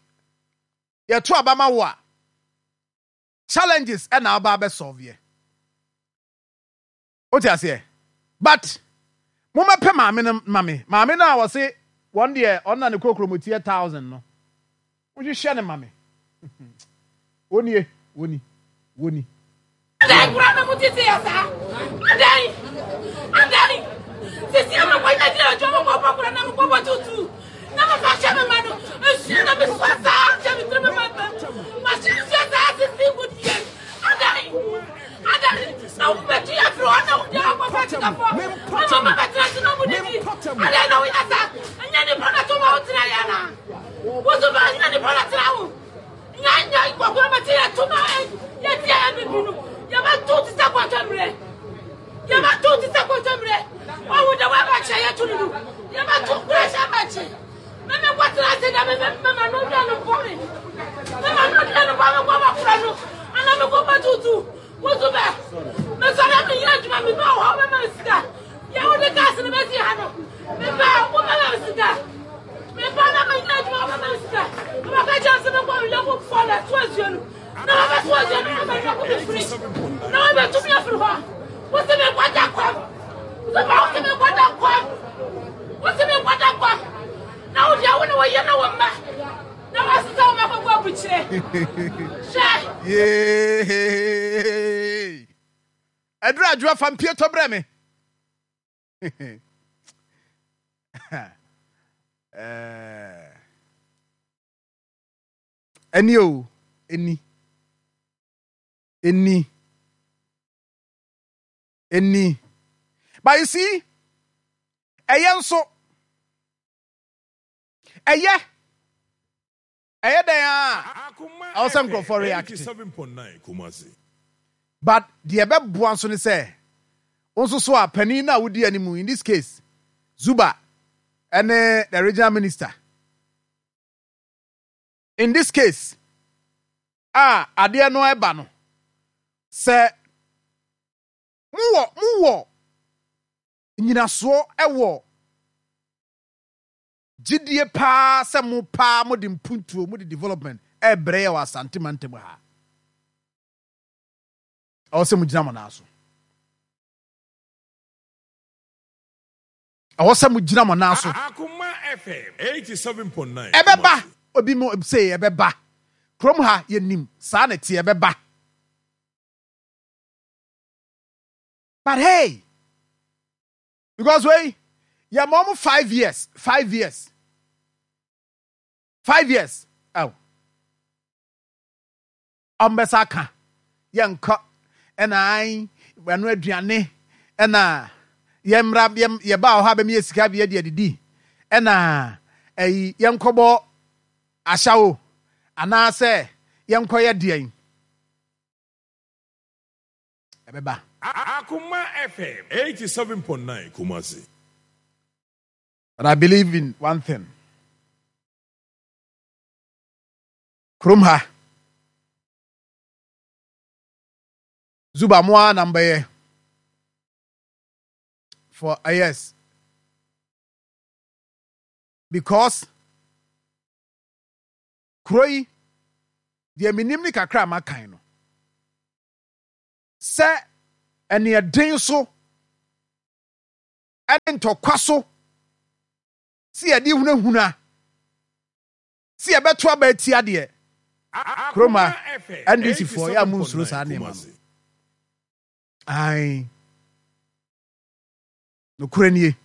yɛto aba ma wo a, challenges ɛna aba abɛ solve yɛ. Wote aseɛ? But mommɛpɛ maame no ma me. Maame no a wɔse wɔn deɛ ɔno na ne kokromoti yɛ 1,000 no. Monhwehwɛ no ma me. Wɔnie, wɔni, wɔni. Adɛn koraa na motete yɛ saa? Adɛn? Adɛn? Sisi ama kɔnya gyina adwuma mu kɔbɔ koraa na mekɔbɔ tutu na mefa hyɛ me ma no nsuo na mesua saa hyɛ me tiri me ma mahyɛ nsuo saa sisi good years. Adɛn? Adɛn na wobɛtu yɛ afiri hɔ na wode akɔfa sikafoɔ ama ma bɛtena so na mudidi? Adɛn na woyɛ saa? Ɛnyɛ nipa na to ma wotena yɛ anaa? Wo so ba ɛnyɛ nipa na tena wo? Nya nya nkɔkora bɛte yɛ to ma yɛte yɛ bibi no yɛbɛto te sɛ kɔtɔmmerɛ, yɛbɛto te sɛ kɔtɔmmerɛ. Ɔwo de woabɛkyɛ yɛto no no yɛbɛto kora hyɛ abɛkye. Meme kɔtena ase da meme mema no dua no bɔ me, mema no dua no bɔ me kɔ bakora no ana me kɔ bɛtutu wo so bɛ mesɔre meyɛ adwuma meba wɔ hɔ mema me sika yɛ wode gas no bɛsi ha no meba wo mema me sika meba na meyɛ adwuma wo mema me sika mebɛka kyerɛ sɛ mekɔ meyɔko fɔ na so asuo no na wɔbɛso asuo no na meyɔko me firi na wɔbɛtumi afiri hɔ. Wo se menkɔda kwam so ma wo se menkɔda kwam, wo se menkɔda kwam na wo deɛ wo ne wo yɛ na wo mma na wɔasesa wo makɔkɔ abukyerɛ hwɛ. Yee! Ɛduru adwoa fa mpie tɔ brɛ me. Ɛni o, ɛni, ɛni, ɛni. But you see, ɛyɛ nso, ɛyɛ, ɛyɛ dɛn a, ɛwɔ sɛ nkurɔfoɔ react. But deɛ ɛbɛboa nso ne sɛ, wo nso so a panin no a wodi anim, in this case, Zuba ɛne the regional minister, in this case, a adeɛ no ɛba no, sɛ mowɔ nyinasoɔ ɛwɔ gyidie paa sɛ mo paa mo de mpuntuo, mo de development ɛbrɛ yɛ wɔ Asante mantam ha, ɛwɔ sɛ mo gyina mo nan so. Ɛwɔ sɛ mo gyina mo nan so. Akoma FM 87.9. Ɛbɛba, obi mo se ɛbɛba. Kurom ha yɛnim saa na ɛte, ɛbɛba. But hey, because wei yɛ ma ɔmo 5 years, 5 years, 5 years. Oh. Ɔmo bɛsa aka yɛnkɔ ɛna an ɛno aduane ɛna yɛmmra yɛba wɔ hɔ a bɛmi yɛ sika bi yɛde adidi ɛna ɛyi yɛnkɔbɔ ahyɛwo anaasɛ yɛnkɔyɛ deɛn ɛbɛba. Akoma FM 87.9 Kumasi. But I believe in one thing. Kurom ha Zuba mo ara na mbɛyɛ for yes, because kuro yi Deɛ menim ne kakra a makan no, sɛ ɛneɛden so ne ntɔkwa so sɛ yɛde hunahuna sɛ yɛbɛto aba atia deɛ, kurom ha NDC foɔ yɛ a monsuro saa nneɛma no. Ae. Nokorɛ nie.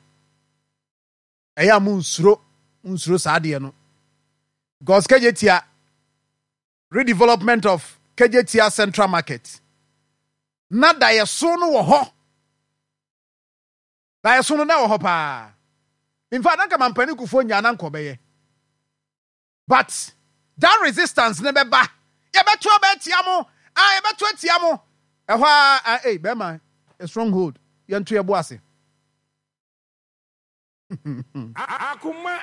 Ɛyɛ a monsuro, monsuro saa adeɛ no. Because Kejetia, redevelopment of Kejetia Central Market, na daeɛso no wɔ hɔ. Daeɛso no na ɛwɔ hɔ paa. In fact, na nka Mampanin Kufuor nyaa na nka ɔbɛyɛ. But that resistance no bɛba. Yɛbɛto aba atia mo. Ah, yɛbɛto atia mo. Ɛhɔ ara, ah, ei, bɛrima, a stronghold. Yɛnto yɛbo ase.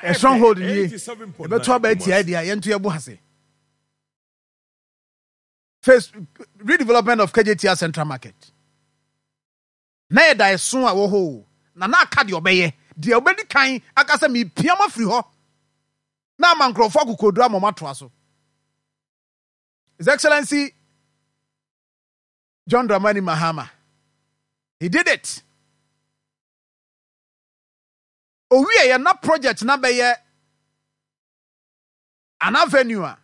A stronghold nie. Yɛbɛto aba atia deɛ a, yɛnto yɛbo ase. Face redevelopment of Kejetia Central Market. Na yɛ daeɛso a ɛwɔ hɔ o, na na aka deɛ ɔbɛyɛ, deɛ ɔbɛdi kan aka sɛ merepia mo afiri hɔ, na ama nkurɔfoɔ akokoɔduro ama wɔatoa so. His Excellency John Dramani Mahama, he did it. Owieɛ na project na bɛyɛ an avenue a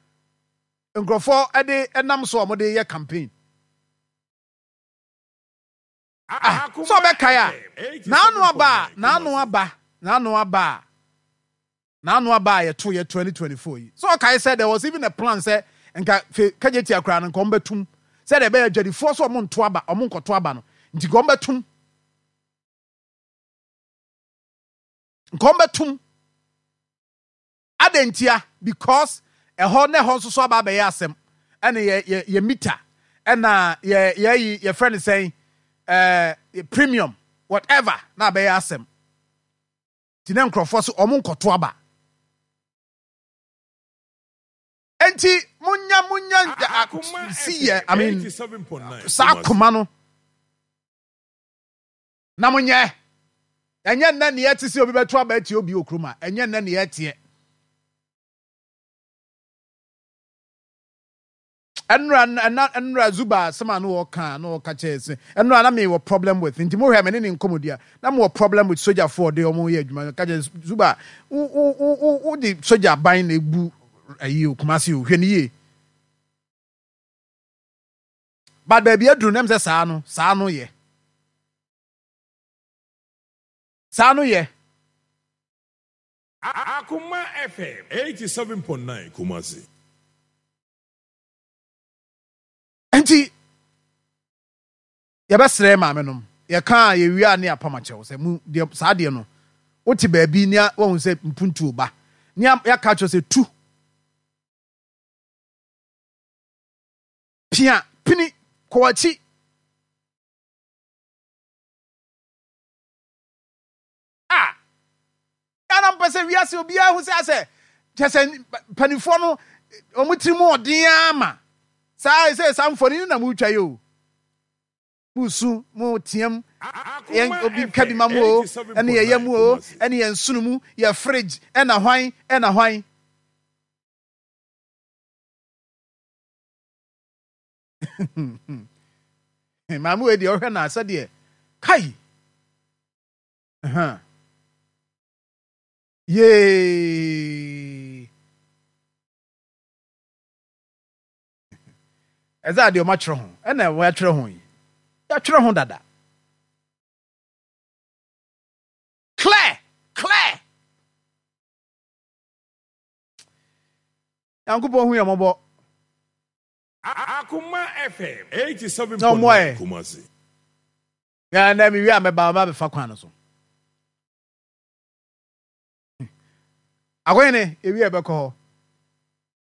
nkurɔfoɔ de nam so a wɔde yɛ campaign. Ah, sɛ ɔbɛkae a, n'ano aba a, n'ano aba, n'ano aba a, n'ano aba a yɛto yɛ 2024 yi. Sɛ ɔkae sɛ there was even a plan sɛ nka fe kagyetia koraa no nka wɔbɛtum sɛdeɛ ɛbɛyɛ adwadifoɔ sɛ wɔn nto aba, wɔn nkɔto aba no, nti nka wɔbɛtum. Nka wɔbɛtum. Adɛn ntia? Because ɛhɔ na ɛhɔ nso so aba abɛyɛ asɛm. Ɛna yɛ yɛ yɛ meter, ɛna yɛ yɛyi yɛfrɛ no sɛn, ɛɛ premium, whatever na abɛyɛ asɛm. Nti na nkurɔfoɔ so wɔn nkɔto aba. Nti munya munya si yɛ I mean saa koma no. Na monyɛ. Ɛnyɛ nnɛ ne yɛte sɛ obi bɛto aba atia obi wɔ kurom a, ɛnyɛ nnɛ ne yɛteɛ. Ɛnora ɛna ɛnora Zuba asɛm a na ɔka na ɔka kyerɛ sɛ ɛnora na mewɔ problem with nti mohwɛ me ne ne nkɔmmɔdi a na mewɔ problem with sogyafoɔ ɔde wɔn yɛ adwuma ka kyerɛ Zuba wo wo wo wo de sogya ban na ebu ayi o Kumasi o hwɛ ne yie. But baabi aduru no ɛm sɛ saa no saa no yɛ. Saa no yɛ. Akoma FM 87.9 Kumasi. Nti yɛbɛsrɛ maame nom yɛka a yɛwie a ne apam akyɛw sɛ mu deɛ saa deɛ no wote baabi ne wahu sɛ mpuntuo ba ne yɛaka kyerɛ sɛ tu Pia, pini, kɔ w'akyi. A Ghana mpɛ sɛ wiase obiara hu sɛ asɛ kyɛ sɛ mpanimfoɔ no wɔn tiri mu ɔden ara ma saa sɛ saa mfoni no na motwa yi o. Mosu, moteam, yɛn obi nka bi ma mo o, ɛne yɛyɛ mu o, ɛne yɛn nsono mu, yɛ fridge, ɛna hwan, ɛna hwan. Maame wei deɛ ɔhwɛ na sɛdeɛ kai yee ɛdze adeɛ ɔma twerɛ ho ɛna wɔatwerɛ ho yi yɛatwerɛ ho dada clear clear Nyankopɔn hu yɛn mmɔbɔ. Akoma FM 87.9 Kumasi. Na na mewie a mɛba mɛba abɛfa kwan no so. Akɔhene ewie a ɛbɛkɔ hɔ.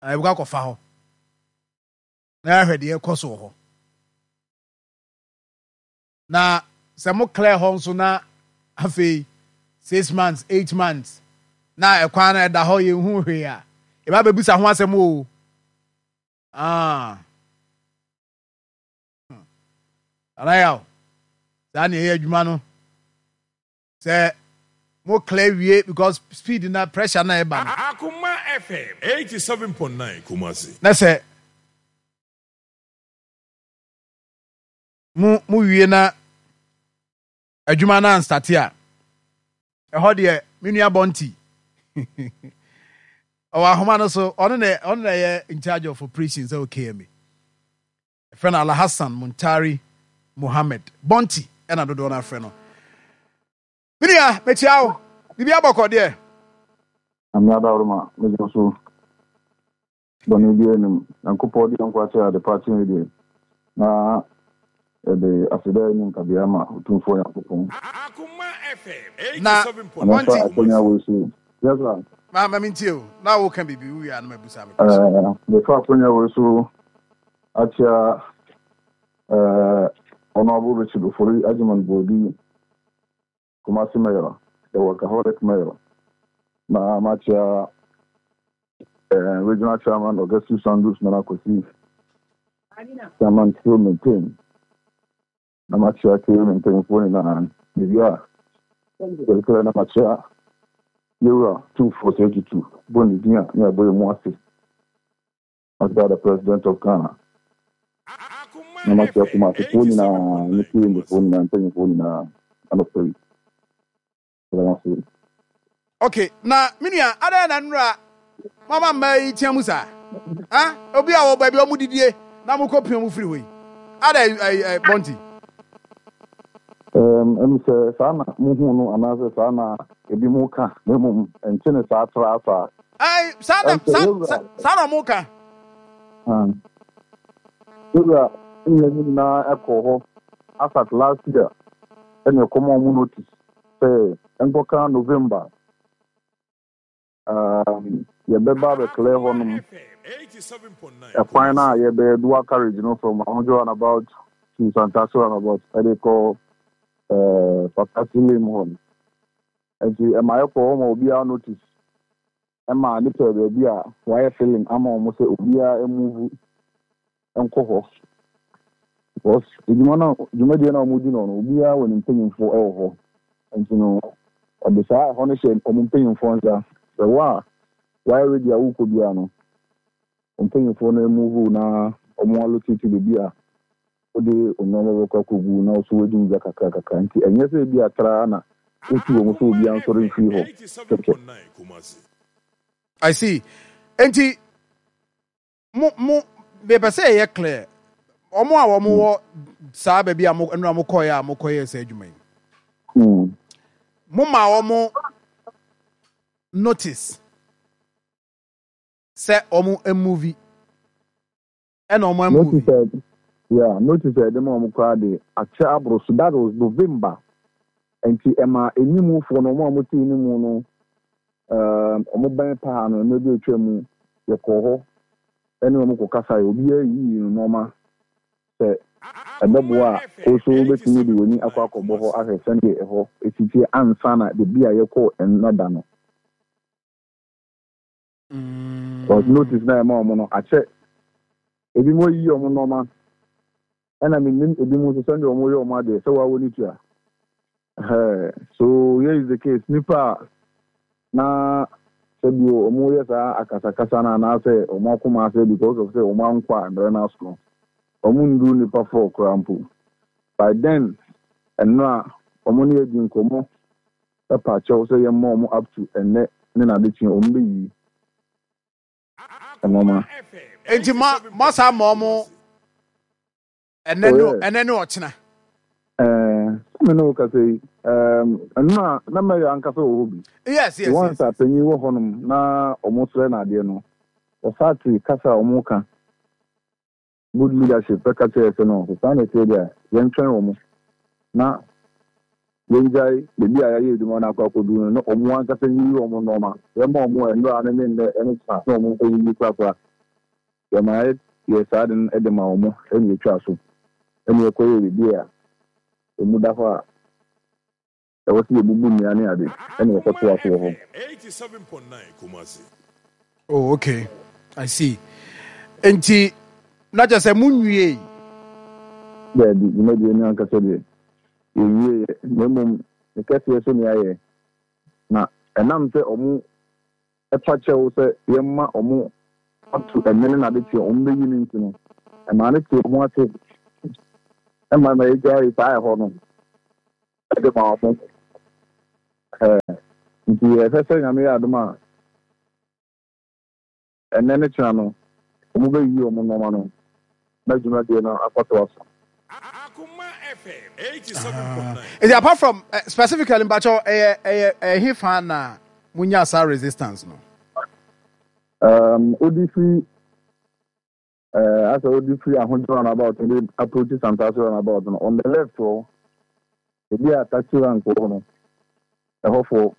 Na yɛbɛkɔ akɔfa hɔ. Na yɛahwɛ deɛ ɛkɔ so wɔ hɔ. Na sɛ mo clear hɔ nso na afei 6 months, 8 months na ɛkwan no ɛda hɔ yɛnhu hwee a, yɛba abɛbisa ho asɛm o. Ah. Nana Yaw, saa na ɛyɛ adwuma no. Sɛ mo clear wie because speed na pressure na ɛba no. Akoma FM 87.9 Kumasi. Na sɛ. Mo mo wie na adwuma no anstate a, ɛhɔ deɛ me nua Bɔnti ɔwɔ ahoma no so, ɔno na ɔno na ɛyɛ in charge of operations ɛwɔ KMA. Ɛfrɛ no Alhassan Muntari Mohammed Bɔnti ɛna dodoɔ no afrɛ no. Me nua, mekyia wo. Biribi abɔkɔ deɛ? Nyame adaworoma, megye so. Bɔne biara nni mu. Nyankopɔn de yɛn nkwa kyɛɛ adepa kyɛn deɛ, na yɛde aseda ne nkabea ma Otumfoɔ Nyankopɔn. Na Na mɛfa Monty. akwanya wei so. Yes sir. Ma ma mentie o. Na woka biribi wowie a na mabusa me question. Eh, mefa akwanya wei so akyia eh, Honorable Richard Ofori Agyeman Boadu, Kumasi Mayor, the workaholic mayor, na makyia eh, Regional Chairman Augustus Sandus Nana Kwesi, Chairman Kill Maintain, na makyia Kill mpanyinfoɔ nyinaa, biribi a yɛrekɛrɛ na makyia Yɛwura Tumfoɔ Sɛ Tutu, bɔ ne din a ne abɔ yɛ mu ase. Ɔda the President of Ghana na makyia Kumasefoɔ nyinaa ne Kirimbefoɔ nyinaa mpanyinfoɔ nyinaa anɔpa yi. Meda mo ase. Ok, na me nua, adɛn na nnura moama mmaa yi tea mu saa? Ha? Obi a wɔ baabi a wɔn didie na mokɔ pia wɔn firi hɔ yi. Adɛn ɛ ɛ Bɔnti? Ɛm, ɛm sɛ saa na muhu no anaasɛ saa na ebinom ka, na mmom ɛnte ne saa traa saa. Ɛn, saa na, Ɛm sɛ saa, yɛwura, saa, saa na wɔn ka. ah, yɛwura ne yɛn nyinaa kɔɔ hɔ asat last year ɛna ɛkɔma wɔn notice sɛ ɛnkɔka November. Um, yɛbɛba abɛclear hɔnom ɛkwan no a yɛbɛyɛ dual carriage no from Ahodwo roundabout to Santase roundabout ɛde kɔ eh, Patasi lane hɔ no. Nti ɛma yɛkɔ hɔ ma obiara notice ɛma ne pɛ baabi a wɔayɛ filling ama wɔn sɛ obiara move nkɔ hɔ because edwuma no dwumadie no a wɔdi no no obiara wɔ ne mpanyinfoɔ wɔ hɔ nti no ɔde saa ɛhɔ no hyɛ wɔn mpanyinfoɔ nsa sɛ wo a wayɛ ready a wokɔ biara no wɔn mpanyinfoɔ no move na wɔn allocate baabi a wode nneɛma bɛkɔ akɔgu na wo so wadi wo dwa kakra kakra nti ɛnyɛ sɛ ebi atra na wotu wɔn sɛ obiara nsɔre mfiri hɔ kɛkɛ. I see. Enti Mo mo mepɛ sɛ yɛyɛ clear. Wɔn a wɔn wɔ saa baabi a mo nnura mo kɔɛ a mo kɔyɛ saa adwuma yi. Mo ma wɔn notice sɛ wɔn movie ɛna wɔn Notice movie. a yeah, notice a yɛde ma wɔn koraa de akyɛ aboro so. That was November. Nti ɛma animufoɔ no, wɔn a wɔte animu no, um, wɔn bɛn paa no, mmerɛ bi a atwa mu, yɛkɔɔ hɔ ne wɔn kɔkasaeɛ. Obiara yiyii no nneɛma sɛ ɛbɛboa a, wo nso wobɛtumi de w'ani akɔ akɔbɔ hɔ ahwɛ sɛdeɛ ɛhɔ si teɛ ansa na baabi a yɛkɔɔ nnɛ da no. Because notice na ɛma wɔn no akyɛ. Ebinom ayiyi wɔn nneɛma, ɛna menim ebinom nso sɛdeɛ wɔyɛ wɔn adeɛ sɛ wɔawɔ ne tua. Ɛhɛɛ, so here is the case, nipa a na sɛbio wɔyɛ saa akasakasa no anaasɛ wɔn akoma asɛe because of sɛ wɔn ankɔ a mmerɛ no aso no, wɔn nnuru nipa four koraa mpo. By then, ɛnora wɔn ne yɛ di nkɔmmɔ pa kyɛw sɛ yɛmma wɔn up to ɛnnɛ ne n'adekyeɛ wɔn bɛyiyi nnoɔma. Enti mo moasan ama wɔn ɛnnɛ Oh ne yes. ɛnnɛ ne ɔkyena. Ɛɛ, sɛ me ne wo kasa yi, ɛɛm, ɛno na na Mary ankasa wɔ hɔ bi. Yes, yes, Once yes, a yes. panyin wɔ hɔnom na wɔsrɛ no adeɛ no, ɔsate kasa a wɔka. Good leadership bɛka kyerɛ yɛ sɛ no, sɛ saa na ɛteɛ deɛ a, yɛntwɛn wɔn na yɛngyae baabi a yɛayɛ adwuma no akɔ akɔduru no na wɔn ankasa nyiyi wɔn nnoɔma. Yɛma wɔn nnora no ne nnɛ ne kyena na wɔn ayiyi korakora. Yɛma yɛyɛ saa ade no de ma wɔn na yɛtwa so na yɛkɔyɛ biribi a ɛmu da hɔ a Ɛwɔ sɛ yɛbubu nnua ne ade na yɛkɔtoa so wɔ hɔ. Oh, okay. I see. Enti, na kyerɛ sɛ monwiei? Daabi, dwumadie no ankasa deɛ, yɛnwieeɛ, na mmom ne kɛseɛ so ne yɛayɛ. Na ɛnam sɛ wɔn pa kyɛw sɛ yɛmma wɔn ato ɛnne ne n'adekyeɛ a wɔbɛyi no nti no, ɛmaa no tee wɔn ase. Ɛma na yɛgyae saa ɛhɔ no de ma wɔn. Ɛɛ nti yɛhwɛ sɛ Nyame yɛ adom a ɛnnɛ ne kyena no wɔbɛyiyi wɔn nnoɔma no na dwumadie no akɔtoa so. Nti apart from uh, specifically mpakyɛw ɛyɛ ɛyɛ ɛhe fa na munya saa resistance no? Um, wodi firi uh, asɛ wodi firi Ahodwo roundabout de approach Santase roundabout no on the left hɔ ebi a taxi rank wɔ hɔ no ɛhɔfoɔ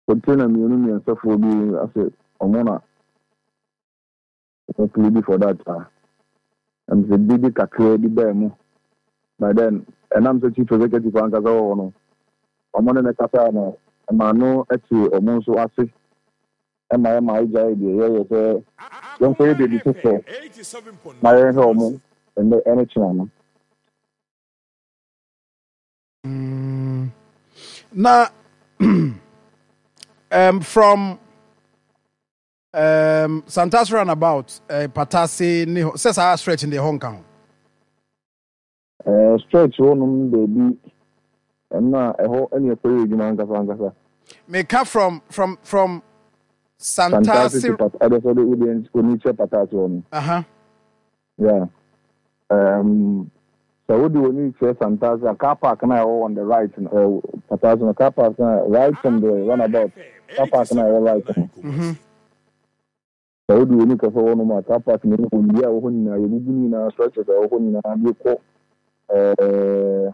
container mmienu mmiɛnsafoɔ bi asɛ ɔmo na Wɔn plead for that a, ɛm sɛ dede kakraa bi baa mu. By then, ɛnam sɛ Chief Executive ankasa wɔ hɔ no, wɔn ne no kasae no, ɛmaa no tee wɔn nso ase ma yɛma yɛgyaee deɛ yɛyɛ sɛ yɛnkɔyɛ baabi foforɔ na yɛnhwɛ wɔn nnɛ ne kyena no. Na um, from Um, Santas roundabout, eh, Patase ne hɔ, sɛ saa stretch no deɛ hɔ nka ho. Eh, stretch hɔ nom baabi, ɛno a ɛhɔ ɛne ɛkɔyɛ adwuma ankasa ankasa. Meka from, from, from Santase. Santase to Pat, ɛdɛ sɛ ɔde wode oni kyɛ Patase hɔ no. Aha. Yeah. Um, sɛ wode w'ani kyerɛ Santase a, car park na ɛwɔ on the right no, uh, Patase no, car park na right from the runabout, car park na ɛwɔ right no. Mm-hmm. Sɛ wode w'ani kɔhwɛ hɔ nom a, car park no mu nnua a ɛwɔ hɔ nyinaa, yɛbubu ne nyinaa, structures a ɛwɔ hɔ nyinaa de kɔ eh,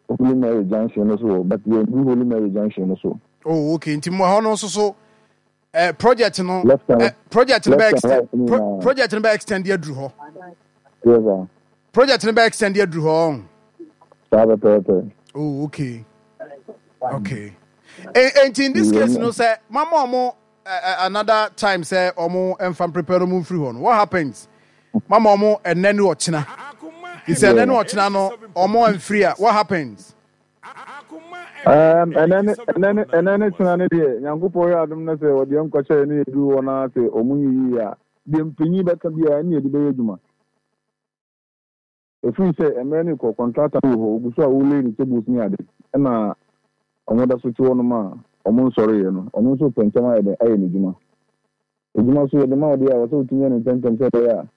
Holy Mary Junction no so wɔ, but yɛndu Holy Mary Junction no so. Oh, okay. Nti mo hɔ no nso so eh, project no left and, eh, project no bɛ extend right, pro, project no bɛ extend aduru hɔ. Yes, sir. Project no bɛ extend aduru hɔ. Saa pɛpɛɛpɛ. Oh, okay. Okay. And in this case, no, sir, mama omo another time sɛ ɔmo mfa prepare no mu mfiri hɔ no what happens mama ɔmo ɛnɛ ne ɔkyena sɛ ɛnɛ ne ɔkyena no ɔmo amfiri a what happens. Um, ɛnɛ ne ɛnɛ ne ɛnɛ ne kyena ne deɛ nyankopɔn yɛ adom no sɛ ɔdeɛ nkɔkyɛ ne yɛduru hɔ no sɛ ɔmo nyiyi a deɛ mpanyin bɛka biara ne yɛde bɛyɛ adwuma. Ɛfiri sɛ mmerɛ no rekɔ, kɔntrata no wɔ hɔ, ɔgu so a ɔrelay ne tables ne ade, ɛna wɔda so te hɔnom a wɔnsɔreeɛ no, ɔno nso repɛ ntɛm ayɛ dɛn? Ayɛ n'adwuma. Adwuma nso yɛde ma wo deɛ a, ɛwɔ sɛ wotumi yɛ no ntɛmntɛm sɛ ɛbɛyɛ a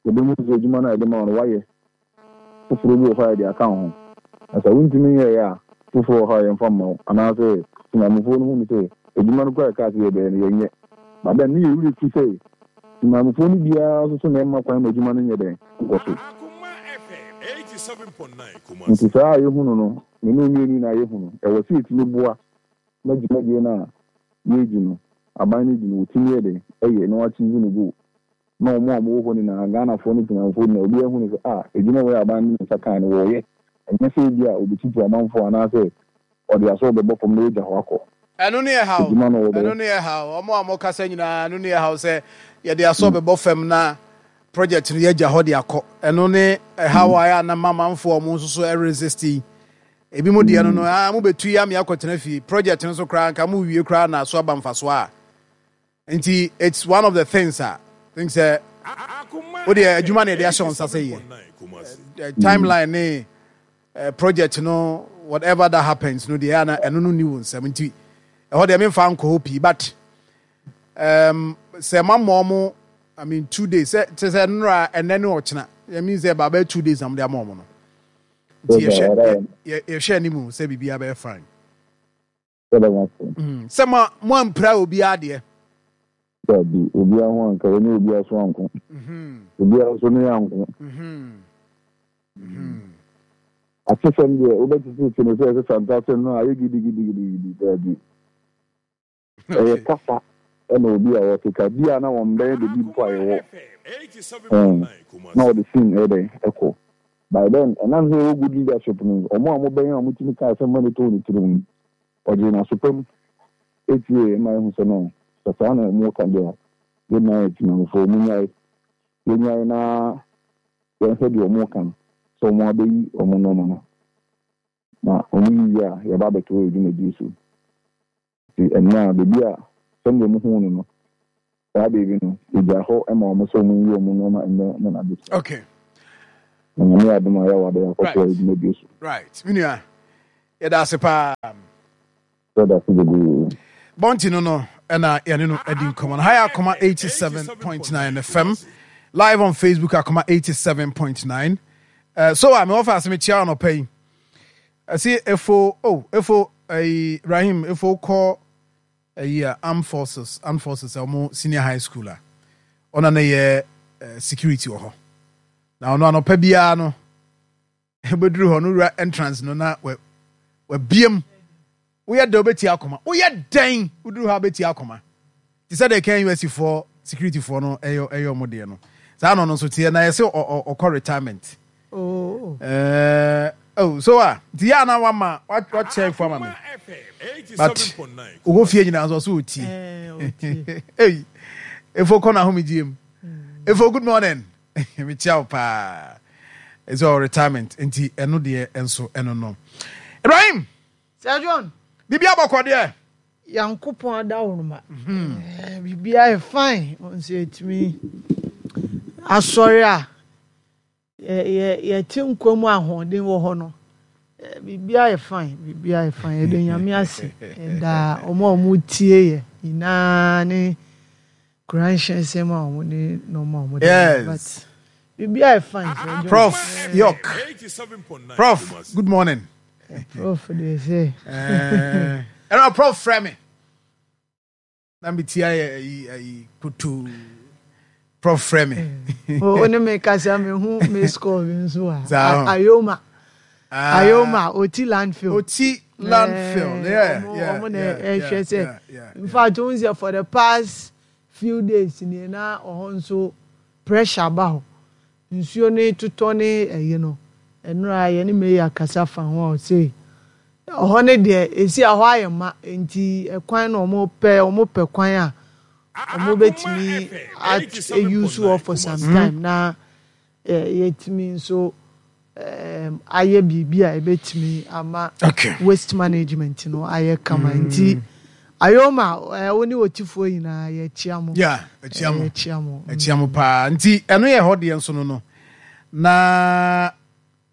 yɛbɛhu sɛ adwuma no a yɛde ma wo no, woayɛ. Foforɔ bi wɔ hɔ a yɛde aka wo ho. Na sɛ wontumi nyɛeɛ a, foforɔ wɔ hɔ a yɛmfa mma wo. Anaasɛ Temanmufoɔ no hunu sɛ adwuma no koraa a yɛkaa sɛ yɛbɛyɛ no, yɛnyɛ. But then ne yɛn werɛ fi sɛ Temanmufoɔ no biara nso so na ɛmma kwan ma adwuma no nyɛ dɛn? Nkɔ so. Nti saa a yɛhunu no, me ne wo mmienu nyinaa yɛhu no, ɛwɔ sɛ yɛtumi boa ma dwumadie no a yɛredi no, aban no di no, wɔtumi yɛ dɛn? Yɛ na wɔachieve ne goal. Na wɔn a wɔwɔ hɔ nyinaa, Ghanafoɔ ne Temanmufoɔ nyinaa, obiara hu no sɛ, ah, adwuma wei a aban no de ne nsa kaeɛ no, wɔreyɛ. Ɛnyɛ sɛ ebia wɔbɛtutu amanfoɔ anaasɛ ɔde asɔw bɛbɔ fam na wagya hɔ akɔ. Ɛno ne ɛhaw. Adwuma no wɔbɛyɛ. Ɛno ne ɛhaw. Wɔn a wɔkasa nyinaa, ɛno ne ɛhaw sɛ yɛde asɔw bɛbɔ fam na project no yɛagya hɔ de akɔ. Ɛno ne ɛhaw a ɛyɛ a na ma amanfoɔ a wɔn nso so resist yi. Ebi mo deɛ no no, ah, mobɛtu yi ame akɔtena fie. Project no so koraa, nka mowie koraa na so aba mfasoɔ a. Nti it's one of the things a think sɛ wo deɛ adwuma na yɛde ahyɛ wo nsa sɛ yɛ. Timeline ne project no whatever that happens no deɛ ana ɛno no ni wo nsɛm nti ɛhɔ deɛ memfa nkɔ hɔ pii but um, sɛ mama ɔmo I mean 2 days sɛ kyɛ sɛ nnora ɛnɛ ne ɔkyena I mean sɛ baabɛ 2 days na mode ama ɔmo no nti yɛhwɛ yɛhwɛ anim sɛ biribiara bɛyɛ fine. Sɛ mo mo ampira obiara deɛ. Dabi, obiara ho anka, yɛne obiara so anko. Obiara nso ne yɛn anko. Atesɛm deɛ, wobɛtetete no sɛ ɛsɛ santase no a, ayɛ gidigidigidi. Dabi. Ɛyɛ kasa ɛna obi a ɔkeka bi a na wɔn bɛn baabi mpo a yɛwɔ. Ɛn, na ɔde sin ɛyɛ dɛn ɛkɔ. By then, ɛnam sɛ yɛwɔ good leadership no, wɔn a wɔbɛn a wɔtumi ka asɛm ma no tɔɔ ne tirim no, ɔgyee no aso pa mu tiee ma ehu sɛ no, sɛ saa na wɔka deɛ a, yɛn nyinaa yɛ Temanmufoɔ, munnyae, yɛnnyae na yɛnhwɛ deɛ wɔka no, sɛ wɔabɛyi wɔn nneɛma no, na wɔyi wie a, yɛba abɛtoa yɛn dwumadie so. Nti ɛnnɛ a, baabi a sɛdeɛ mohuu no no, saa baabi no, yɛgyaa hɔ ma wɔn sɛ wɔnyi wɔn nneɛma nnɛ ne n'adekyee. Okay. Na Nyame yɛ adom a yɛwɔ ade akɔtoa dwumadie so. Right me nua yɛda ase paa. Yɛda ase bebree. Bɔnti no no ɛna yɛne no adi nkɔmmɔ no. Ha yɛ Akoma 87.9 FM live on Facebook Akoma 87.9. Uh, so a mewɔ fa ase mekyia anɔpa yi. Ɛsi efo oh efo ɛyi Rahim efo kɔ ɛyi a armed forces armed forces ɔmo senior high school a ɔna ne yɛ security wɔ hɔ. Na ɔno anɔpa biara no Wobɛduru hɔ no wura entrance no na wabiem. Woyɛ dɛn wobɛtie akoma. Woyɛ dɛn woduru hɔ a wobɛtie akoma. Te sɛ deɛ KNUST foɔ security foɔ no ɛyɛ ɛyɛ ɔmo deɛ no. Saa na ɔno nso teɛ na yɛsɛ ɔkɔ retirement. Oh. Uh, oh, so a nti yɛ ana wama wakyɛ fo ama me but wowɔ fie nyinaa nso ɔso ɔtie. Ei, efo kɔ n'ahomegyeɛ mu. Efo good morning. Mekyia wo paa. It's all retirement. Nti ɛno deɛ nso ɛno no. Ibrahim. Sir John. Biribi abɔkɔ deɛ. Yankopɔn adaworoma. Mhm. Eh, biribi ayɛ fine. Nso yɛtumi asɔre a yɛte nkwa mu ahoɔden wɔ hɔ no. Eh, biribi ayɛ fine. Biribi ayɛ fine. Yɛde Nyame ase. Ɛda wɔn a wɔtie yɛ nyinaa ne Kuranhyɛ nsɛm a wɔn de nneɛma a wɔn de yes. But biribi ayɛ fine sɛ. Prof York. Prof good morning. Eh, prof de sɛ. Eh, ɛna prof frɛ me. Na me ti ayɛ ayi ayi kutu. Prof frɛ me. Eh, o ne me kasa me hu me score bi nso a. Ayoma. Ah. Ayoma Oti landfill. Oti landfill. Eh, yeah, yeah, Ɔmo na ɛhwɛ sɛ. In fact, ohun sɛ for the past few days ni na ɔhɔ nso pressure ba hɔ. Nsuo ne totɔ ne ɛyi no. Ɛnora yɛne mayor kasa fa ho a ɔse ɔhɔ ne deɛ esi a hɔ ayɛ ma nti ɛkwan na ɔmo pɛ ɔmo pɛ kwan a ɔmo betumi a use hɔ for some time na yɛatumi nso ayɛ biribi a ɛbɛtumi ama waste management no ayɛ kama mm. Nti ayoma wo ne ɔtifoɔ nyinaa yɛkyia mo. Yɛkyia mo, yɛkyia mo yɛkyia mo paa. Nti ɛno yɛ hɔ deɛ nso no no na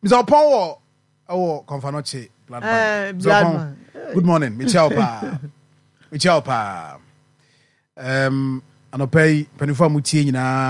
Mr. Ɔpɔn wɔ ɛwɔ Kɔnfanɔkye blood bank. Mr. Ɔpɔn, good morning, mekyia wo paa, mekyia wo paa. Um, anɔpa yi mpanimfoɔ a motie nyinaa.